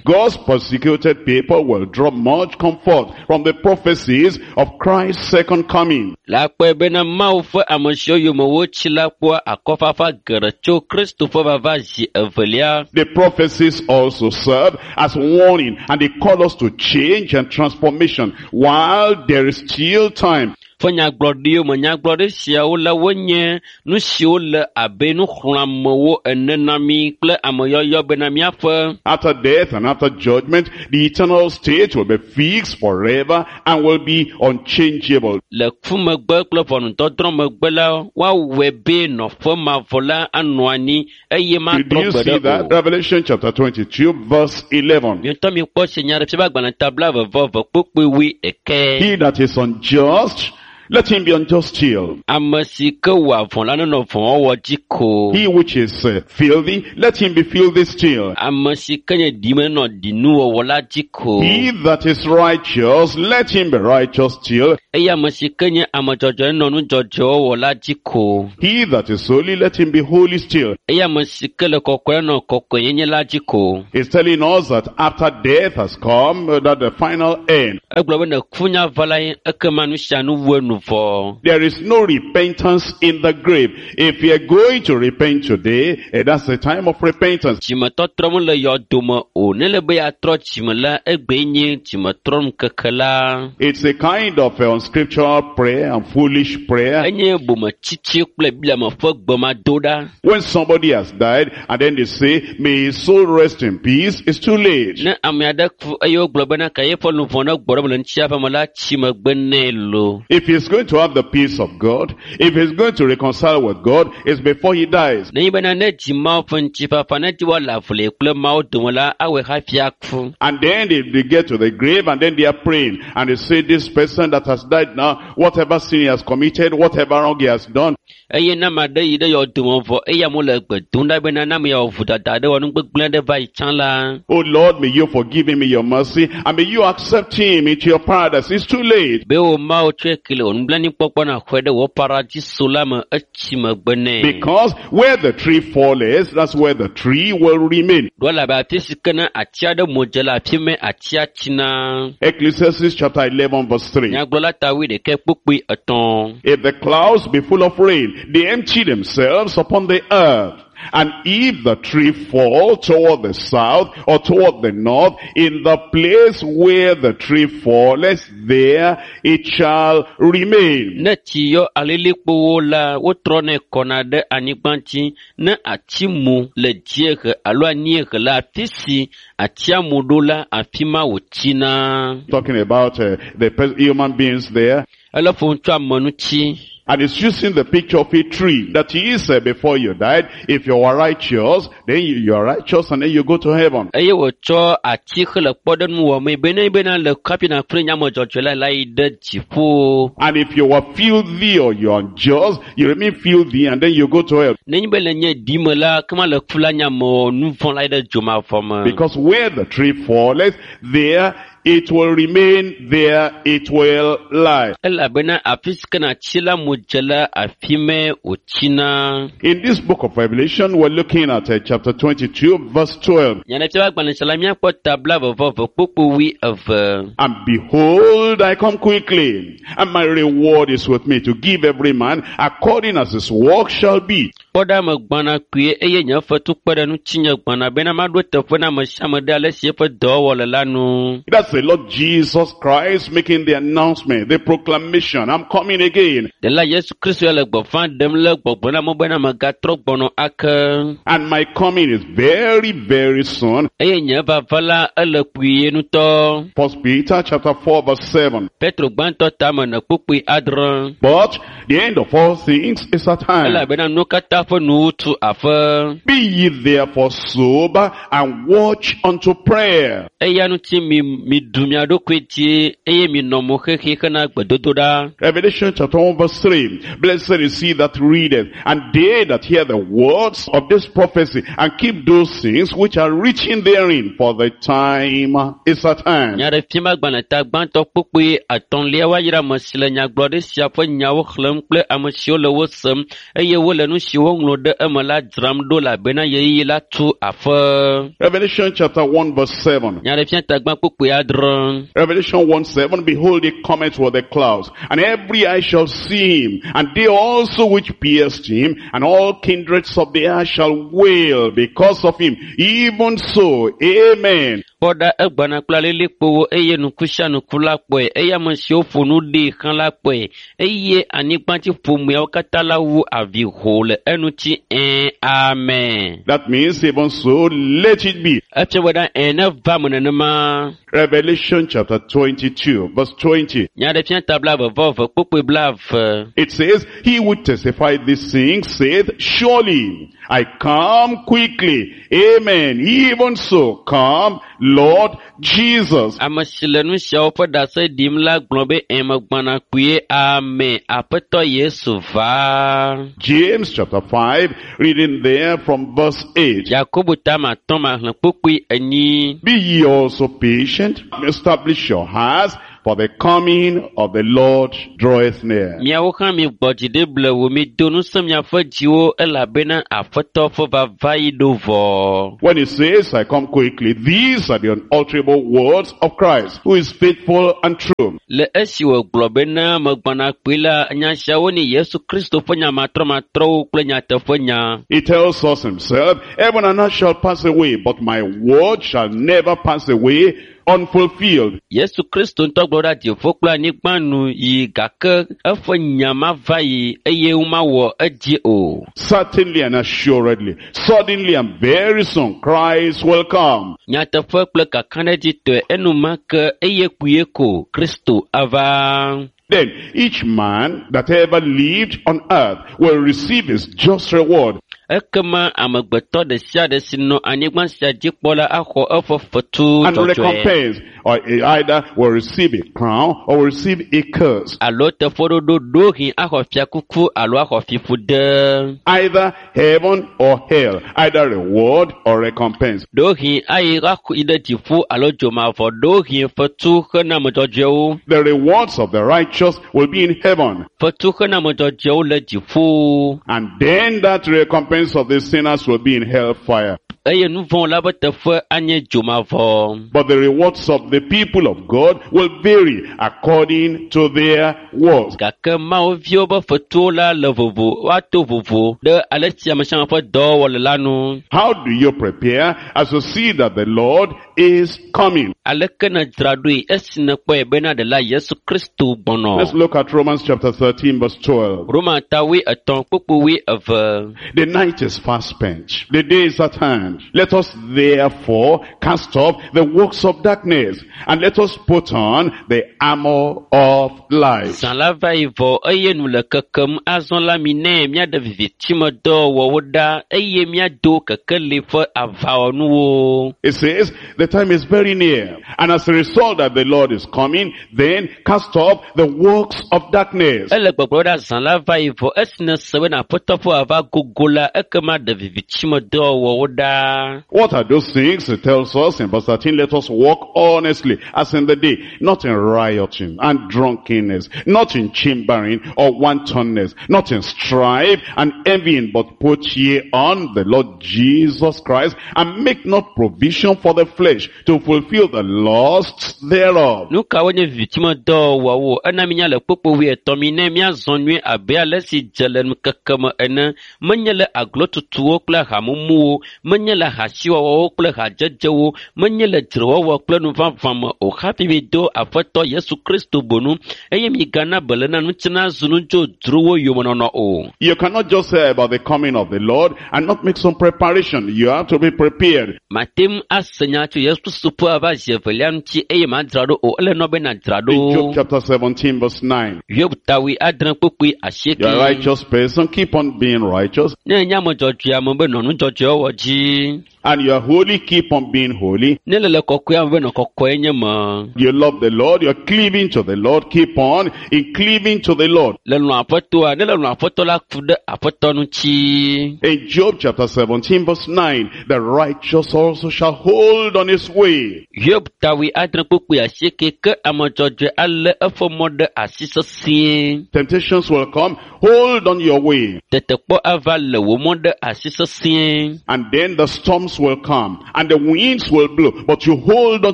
God's persecuted people will draw much comfort from the prophecies of Christ's second coming. la kpɔe bena Mawu ƒe ame siwo yome wotsi la kpɔa akɔfafa geɖe tso Kristo ƒe vava zi evelia. The prophecies also serve as warning and they call us to change and transformation while there is still time. Ƒe nyagblɔɖiwo me nyagblɔɖi siawo la wonye nu siwo le abe nuxlɔ̃amewo ene na mí kple ameyɔyɔ bena míaƒe After death and after judgment, the eternal state will be fixed forever and will be unchangeable. le ku megbe kple ʋɔnudɔdrɔ̃ megbe la woawɔe be nɔƒe mavɔ la anɔ anyi eye Did matrɔ you gbe see ɖe that? o. Revelation chapter twenty-two verse eleven. Mietɔ mikpɔ se nya ɖe fia be agbalẽ ta blaeve vɔ eve kpukpui wui eke. He that is unjust, let him be unjust still. Ame si ke wɔa vɔ̃ la nenɔ vɔ̃wɔwɔ dzi ko. He which is uh, filthy, let him be filthy still. Ame si ke nye ɖime nenɔ ɖinuwɔwɔ la dzi ko. He that is righteous, let him be righteous still. Eye ame si ke nye ame dzɔdzɔe nenɔ nu dzɔdzɔewɔwɔ la dzi ko. He that is holy, let him be holy still. Eye ame si ke le kɔkɔe nenɔ kɔkɔenyenye la dzi ko. It's telling us that after death has come, uh, that the final end. Egblɔ be ne ku nya va la ye, ekema nu sia nu wu enu vɔ. There is no repentance in the grave. If you are going to repent today, eh, that's the time of repentance. Dzimetɔtrɔ mele yɔdome o. Ne le be yeatrɔ dzime la, egbee nye dzimetrɔnukeke la. It's a kind of uh, unscriptural prayer and foolish prayer. Enye bometsitsi kple Biblia me ƒe gbemadoɖa. When somebody has died and then they say, may his soul rest in peace, it's too late. Ne ame aɖe ku eye wogblɔ bena ka yeƒe luʋɔ ne gbɔ ɖe eme le ŋutiaƒe me la, tsi megbe nɛ lo. If he's going to have the peace of God, if he's going to reconcile with God, it's before he dies. Nenye bena ne dzi Mawu ƒe ŋutifafa, ne dzi woale avu kple Mawu dome la, awɔe hafi aku. And then they, they get to the grave and then they are praying. And they say, this person that has died now, whatever sin he has committed, whatever wrong he has done, Eye ne ame aɖe yi ɖe yɔdome vɔ eye amewo le gbe dom ɖa bena ne ame ya wɔ vodada aɖe wɔ nu gbegblẽ ɖe va yi tsã la, oh Lord, may you forgive him in your mercy and may you accept him into your paradise. It's too late. be wò Mawu tsɔe ke le wò nublanuikpɔkpɔ nàxɔe ɖe wò paradiso la me, etsi megbe nɛ. Because where the tree falleth, that's where the tree will remain. Ɖo elabe afi si ke ne ati aɖe mu dze le afi mɛ atia tsina. Ecclesiastes chapter eleven verse three. Nyagblɔla ta wuiɖekɛ kpukpui etɔ̃. If the clouds be full of rain, they empty themselves upon the earth. And if the tree fall toward the south or toward the north, in the place where the tree falleth, there it shall remain. Ne tsi yɔ alilikpowo la, wotrɔnɛ kɔna ɖe anyigba dzi. Ne ati mu le dziehe alo anyiehe la, afi si atia mu ɖo la, afi ma wòtsina. Talking about uh, the pers- human beings there. Ele ƒom tso ame ŋuti. And it's using the picture of a tree that is uh, before you died. If you are righteous, then you, you are righteous and then you go to heaven. Eye wòtsɔ ati xe le kpɔɖeŋu wɔmee be ne bena le hafi nàkple nye ame dzɔdzɔe la la yi ɖe dziƒo. And if you are filthy or you are unjust, you remain filthy and then you go to hell. Nenye be le nye ɖime la, kema le ku la nye ame nu vɔ̃ la yi ɖe dzomavɔ me. Because where the tree falleth, there it will remain, there it will lie. Elabena afi si ke natsi la mu dze la, afi mɛ wòtsina. In this book of Revelation, we're looking at uh, chapter twenty-two, verse twelve. Nyaɖeɖefia ƒe agbalẽ sia la, míakpɔ ta blaeve vɔ eve kpukpui wui eve. And behold, I come quickly, and my reward is with me to give every man according as his work shall be. Kpɔ ɖa megbɔna kpuie eye nye fetu kpe ɖe ŋutinye gbɔna bena maɖo teƒe na ame sia ame ɖe ale si eƒe dɔwɔwɔ le la nu. That's the Lord Jesus Christ making the announcement, the proclamation, I'm coming again. Ɖela Yesu Kristo ya le gbeƒã ɖem le gbɔgblɔ na amewo bena megatrɔ gbɔnɔ ake. And my coming is very, very soon. Eye nye vava la ele kpuie ŋutɔ. First Peter chapter four verse seven. Petro gbãtɔ tame ne kpukpui adre. But the end of all things is at hand. Elabena nuwo katã ƒe nuwu tu aƒe. Be ye therefore sober and watch unto prayer. Eya ŋuti mi miɖu mia ɖokui dzi eye minɔ mo xexi hena gbedodoɖa. Revelation chapter one verse three. Blessed is he that readeth, and they that hear the words of this prophecy, and keep those things which are written therein, for the time is at hand. Nyaɖefiamagbalẽ ta gbãtɔ kpukpui atɔ̃lia woayra ame si le nyagblɔɖi sia ƒe nyawo xlẽm kple ame siwo le wo sem eye wole nu si woŋlɔ ɖe eme la dzram ɖo elabena ɣeyiɣi la tu aƒe. Revelation chapter one verse seven. Nyaɖefia ta gbã kpukpui adre. Revelation one seven, behold, he cometh with the clouds, and every eye shall see him, and they also which pierced him, and all kindreds of the earth shall wail because of him. Even so, amen. Kpɔ ɖa egbɔna kple alilikpowo eye nuku sia nuku la kpɔe eye ame siwo ƒo nu ɖee xlã la kpɔe eye anyigbatsi ƒomeawo katã la wu avi hoo le eŋuti ɛ̃ amen. That means even so, let it be. Efia be ɖa ɛ̃ neva me nenema. Revelation chapter twenty-two, verse twenty. Nyaɖefia ta blaeve vɔ eve kpukpui blaeve. It says, he who testified these things saith, surely I come quickly. Amen. Even so, come, Lord Jesus. Ame si le nu siawo ƒe ɖase ɖim la gblɔ be ɛ̃ megbɔna kpuie amen. Aƒetɔ Yesu va. James chapter five, reading there from verse eight. Yakobo ta ma atɔ̃ ma xlẽ kpukpui enyi. Be ye also patient, establish your hearts, for the coming of the Lord draweth near. Miawo hã migbɔ dzi ɖi blewu, mido ŋusẽ miaƒe dziwo elabena Aƒetɔ ƒe vava yi ɖo vɔ. When he says, I come quickly, these are the unalterable words of Christ, who is faithful and true. Le esi wògblɔ bena megbɔna kpui la, nya siawo nye Yesu Kristo ƒe nya matrɔmatrɔwo kple nyateƒenya. He tells us himself, heaven and earth shall pass away, but my word shall never pass away unfulfilled. Yesu Kristo ŋutɔ gblɔ ɖa dziƒo kple anyigba nu yi gake eƒe nya mava yi eye womawɔ edzi o. Certainly and assuredly, suddenly and very soon, Christ will come. Nyateƒe kple kakaɖedzitɔe enumake eye kpuie ko Kristo ava. Then each man that ever lived on earth will receive his just reward. Ekema amegbetɔ ɖe sia ɖe si nɔ anyigba sia dzi kpɔ la axɔ eƒe fetu And dzɔdzɔe. recompense, or either will receive a crown or will receive a curse. Alo teƒeɖoɖo ɖohi axɔ fiakuku alo axɔ fiƒode. Either heaven or hell, either reward or recompense. Ɖohi ayi axɔ yi ɖe dziƒo alo dzomavɔ, ɖohi fetu hena ame dzɔdzɔewo. The rewards of the righteous will be in heaven. Fetu hena ame dzɔdzɔewo le dziƒo. And then that recompense of the sinners will be in hellfire. Eye nu vɔ̃ la ƒe teƒe anye dzomavɔ. But the rewards of the people of God will vary according to their works. Gake Mawu viwo ƒe fetuwo la le vovo, woato vovo ɖe ale si ame sia ame ƒe dɔwɔwɔ le la nu. How do you prepare as you see that the Lord is coming? Aleke nèdzra ɖoe esi nèkpɔe bena ɖela Yesu Kristo gbɔnɔ? Let's look at Romans chapter thirteen verse twelve. Roma ta wuietɔ̃ kpukpui wuieve. The night is fast spent. The day is at hand. Let us therefore cast off the works of darkness and let us put on the armor of light. Zã la va yi vɔ eye nu le kekem azɔ la mi nɛ míaɖe vivitime dɔwɔwɔwo ɖa eye míado kekeli ƒe aʋawɔnuwo. It says the time is very near, and as a result that the Lord is coming, then cast off the works of darkness. Ele gbɔgblɔ ɖa zã la va yi vɔ esi nèse bena Aƒetɔ ƒe vava gogo la ekema ɖe vivitime dɔwɔwɔwo ɖa. What are those things? It tells us in verse thirteen, let us walk honestly as in the day, not in rioting and drunkenness, not in chambering or wantonness, not in strife and envying, but put ye on the Lord Jesus Christ and make not provision for the flesh to fulfill the lusts thereof. Nu kawoe nye vivitime dɔwɔwɔwo? Ena minya le kpukpui wuietɔ̃ mi ne míazɔ nyuie abe ale si dze le ŋkeke me ene. Menye le aglotutuwo kple hamumuwo, menye Menye le hasiwɔwɔwo kple hadzedzewo, menye le dzrewɔwɔ kple nuvavã me o hafi mido Aƒetɔ Yesu Kristo bonu eye migana beléna ŋuti nazu nudzodzrowo yomenɔnɔ o. You cannot just say about the coming of the Lord and not make some preparation. You have to be prepared. Mate ŋu ase nya tso Yesu Kristo ƒe ava zi evelia ŋuti eye madzra ɖo o. Ele nɔ be nadzra In Job ɖo. chapter seventeen verse nine. Hiob tawi adre kpukpui You're a asieke. righteous person, keep on being righteous. Ne enye ame dzɔdzɔe ame be nɔ nu dzɔdzɔe wɔwɔ dzi. And you're holy, keep on being holy. Ne le le kɔkɔe ame be nɔ kɔkɔe nye me. You love the Lord, you're cleaving to the Lord, keep on in cleaving to the Lord. Le lɔ̃ Aƒetɔa, ne le lɔ̃ Aƒetɔ la ku ɖe Aƒetɔ ŋuti. In Job chapter seventeen verse nine, the righteous also shall hold on his way. Hiob tawi adre kpukpui asieke ke ame dzɔdzɔe alé eƒe mɔ ɖe asi sesĩe. Temptations will come, hold on your way. Tetekpɔ ava le wò mɔ ɖe asi sesĩe. And then the storms will come and the winds will blow, but you hold on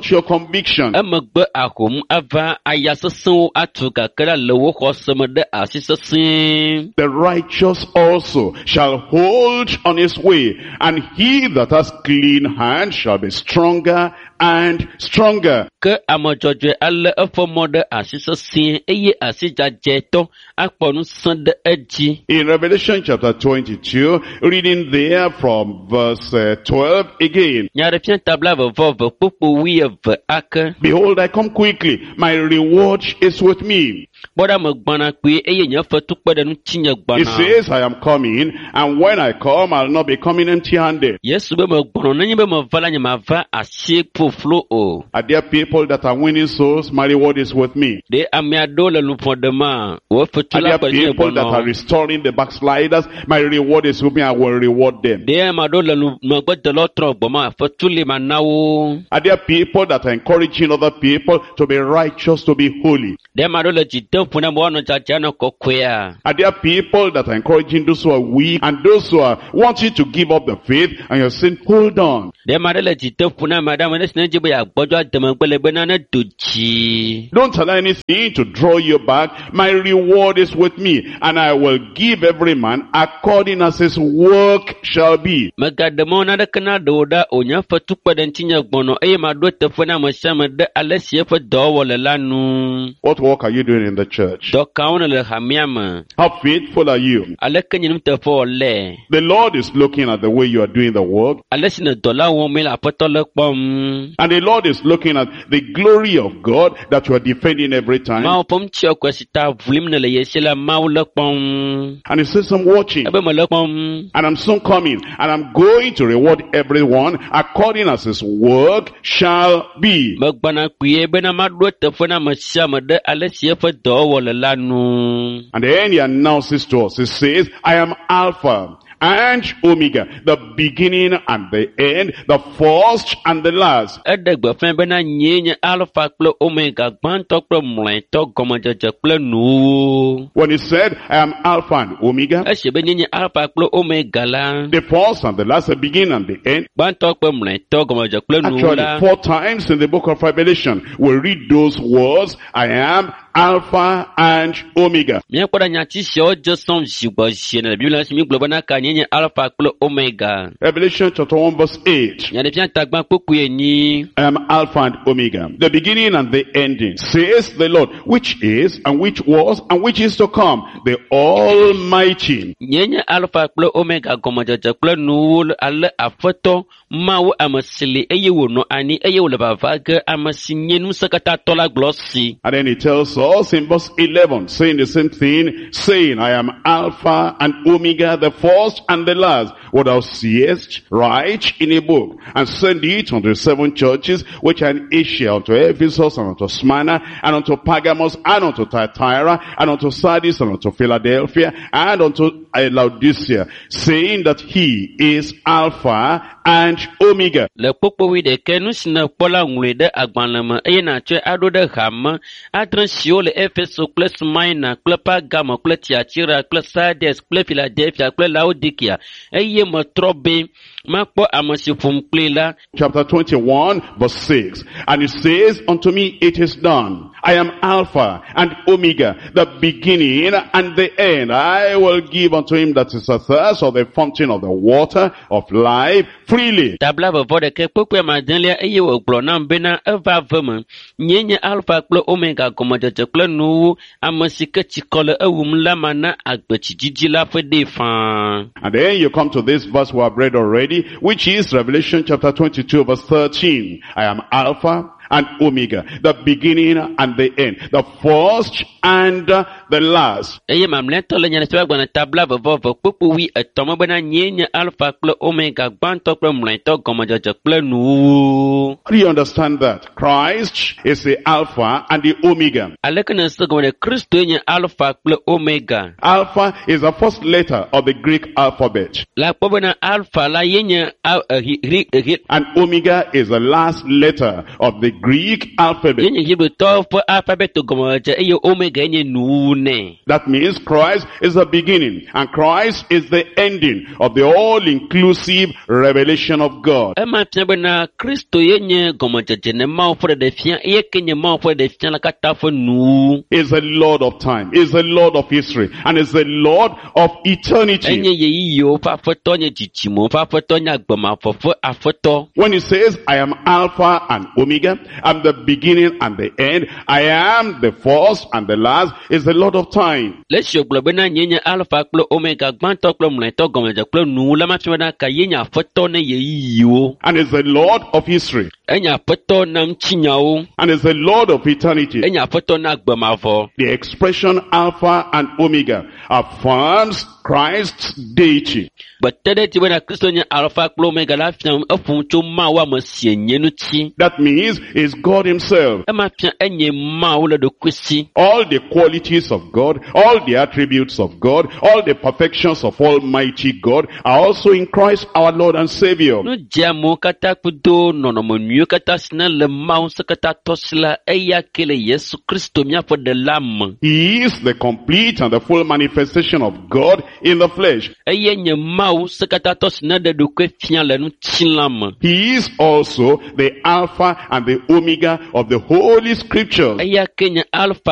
to your conviction. Emegbe ahom ava aya sesẽwo atu gake la le wò xɔse me ɖe asi sesĩe. The righteous also shall hold on his way, and he that has clean hands shall be stronger and stronger. Ke ame dzɔdzɔe alé eƒe mɔ ɖe asi sesĩe eye asi dzadzɛtɔ akpɔ ŋusẽ ɖe edzi. In Revelation chapter twenty-two, reading there from verse uh, twelve again. Nyaɖeɖefia ta blaeve vɔ eve kpukpu wuieve ake. Behold, I come quickly. My reward is with me. Kpɔ ɖa megbɔna kpuie eye nye fetu kpe ɖe ŋutinye He gbɔna. says, I am coming, and when I come, I'll not be coming empty-handed. Yesu be megbɔna nenye be meva la nye mava asi ƒoƒlo o. Are there people that are winning souls? My reward is with me. Ɖe ame aɖewo le luʋɔ ɖema, wò fetu Are la there kpe ɖe ŋutinye people that are gbɔna. restoring the backsliders? My reward is with me. I will reward them. Ɖe ame aɖewo le lu- megbedelawo trɔ gbɔma, fetu li mana wo. Are there people that are encouraging other people to be righteous, to be holy? Ɖe ame aɖewo le dzi dem ƒo na be woanɔ dzadzɛ anɔ kɔkɔea. Are there people that are encouraging those who are weak and those who are wanting to give up the faith, and you're saying, hold on. Ɖe ame aɖe le dzi dem ƒo na ame aɖe, ame ɖe si ne dzi be yeagbɔdzɔ ade megbe le bena ne do dzi. Don't allow anything to draw you back. My reward is with me, and I will give every man according as his work shall be. Megaɖe mɔ naneke naɖe wò ɖa o, nye fetu kpe ɖe ŋutinye gbɔnɔ eye maɖo eteƒe na ame sia ame ɖe ale si eƒe dɔwɔwɔ le la nu. What work are you doing in the church? Dɔ kawo nèle hamea me? How faithful are you? Aleke nye nuteƒewɔ le? The Lord is looking at the way you are doing the work, Ale si nè dɔ la wɔm le Aƒetɔ le kpɔm. and the Lord is looking at the glory of God that you are defending every time. Mawu ƒe ŋutiɔkɔe si ta ʋlim nèle ye si la, Mawu le kpɔm. And he says, I'm watching. Ebe mele kpɔm. And I'm soon coming, and I'm going to reward everyone according as his work shall be. Megbɔna kpuie bena maɖo eteƒe na ame sia ame ɖe ale si eƒe dɔwɔwɔ le la nu. And then he announces to us, he says, I am Alpha and Omega, the beginning and the end, the first and the last. Eɖe gbeƒãe bena nyee nye Alfa kple Omega, gbãtɔ kple mlɔetɔ, gɔmedzedze kple nuwuwu. When he said, I am Alpha and Omega, Esi be nyee nye Alfa kple Omega la, the first and the last, the beginning and the end. gbãtɔ kple mlɔetɔ, gɔmedzedze kple nuwuwu la, Actually, four times in the book of Revelation, we read those words, I am Alpha and Omega. Míakpɔ ɖe nyati siawo dze sɔm zi gbɔ zi ene le Biblia si mígblɔ bena ka nyee nye Alfa kple Omega. Revelation chapter one verse eight. Nyaɖeɖefia tagbã kpukpui enyi. I am Alpha and Omega, the beginning and the ending, says the Lord, which is, and which was, and which is to come, the Almighty. Nyee nye Alfa kple Omega, gɔmedzedze kple nuwuwu ale Aƒetɔ Mawu ame si li eye wònɔ anyi eye wòle vava ge ame si nye ŋusẽkatãtɔ la gblɔ si. And then he tells us in verse eleven, saying the same thing, saying, I am Alpha and Omega, the first and the last. What thou seest, write in a book, and send it unto the seven churches which are in Asia, unto Ephesus, and unto Smyrna, and unto Pergamos, and unto Thyatira, and unto Sardis, and unto Philadelphia, and unto Laodicea, saying that he is Alpha and Omega. Le kpukpui ɖekɛ nu si nèkpɔ la ŋlɔe ɖe agbalẽ me eye nàtsɔe aɖo ɖe hame adre siwo le Efeso kple Smyrna kple Pergamo kple Tiatira kple Sardes kple Philadelphia kple Laodikea eye metrɔ be Makpɔ ame si ƒom kpli la. Chapter twenty-one verse six. And it says unto me, it is done. I am Alpha and Omega, the beginning and the end. I will give unto him that is athirst of the fountain of the water of life freely. Ta blaeve vɔ ɖekɛ kpukpui adelia eye wògblɔ nam bena eva ve me. Nyee nye Alfa kple Omega gɔmedzedze kple nuwuwu. Ame si ke tsikɔ le ewum la mana agbetsidzidzi la ƒe ɖee faa. And then you come to this verse we have read already, which is Revelation chapter twenty-two verse thirteen. I am Alpha and Omega, the beginning and the end, the first and the last. Eye mamlɛtɔ le nyateƒe agbalẽ ta blaeve vɔ eve kpukpui wui etɔ̃ me bena nyee nye Alfa kple Omega gbãtɔ kple mlɔetɔ gɔmedzedze kple nuwuwu. How do you understand that? Christ is the Alpha and the Omega. Aleke nèse gɔme ɖe Kristoe nye Alfa kple Omega? Alpha is the first letter of the Greek alphabet. Le akpɔ bena Alfa la ye nye a- ehi- hri- ehi- And Omega is the last letter of the Greek alphabet. ye nye Hebritɔwo ƒe alfabet gɔmedzedze eye Omega nye nuwuwu nɛ. That means Christ is the beginning and Christ is the ending of the all-inclusive revelation of God. Ema fia bena Kristo ye nye gɔmedzedze ne Mawu ƒe ɖeɖefia eye ke nye Mawu ƒe ɖeɖefia la katã ƒe nuwuwu. Is the Lord of time, is the Lord of history, and is the Lord of eternity. Enye ɣeyiɣiwo ƒe aƒetɔ nye dzidzimewo ƒe aƒetɔ nye agbemavɔ ƒe aƒetɔ. When he says, I am Alpha and Omega, I'm the beginning and the end, I am the first and the last, is the Lord of time. Le esi wògblɔ bena nye nye Alfa kple Omega gbãtɔ kple mlɔetɔ gɔmedzedze kple nuwuwu la ma fia bena ka ye nye aƒetɔ ne ɣeyiɣiwo. And is the Lord of history. Enye aƒetɔ na ŋutinyawo. And is the Lord of eternity. Enye aƒetɔ na agbemavɔ. The expression Alpha and Omega affirms Christ's deity. Gbete ɖe edzi bena Kristo nye Alfa kple Omega la fia eƒom tso Mawu ame si enye ŋuti. That means is God himself. Ema fia enye Mawu le ɖokui si. All the qualities of God, all the attributes of God, all the perfections of Almighty God are also in Christ our Lord and Savior. Nu dzeamewo katã kudo nɔnɔme nyuiwo katã si ne le Mawu ŋusẽkatãtɔ si la, eya ke le Yesu Kristo míaƒe ɖela me. He is the complete and the full manifestation of God in the flesh. Eye nye Mawu ŋusẽkatãtɔ si ne ɖe ɖokui fia le ŋutilã me. He is also the Alpha and the Omega of the Holy Scriptures. Eya ke nye Alfa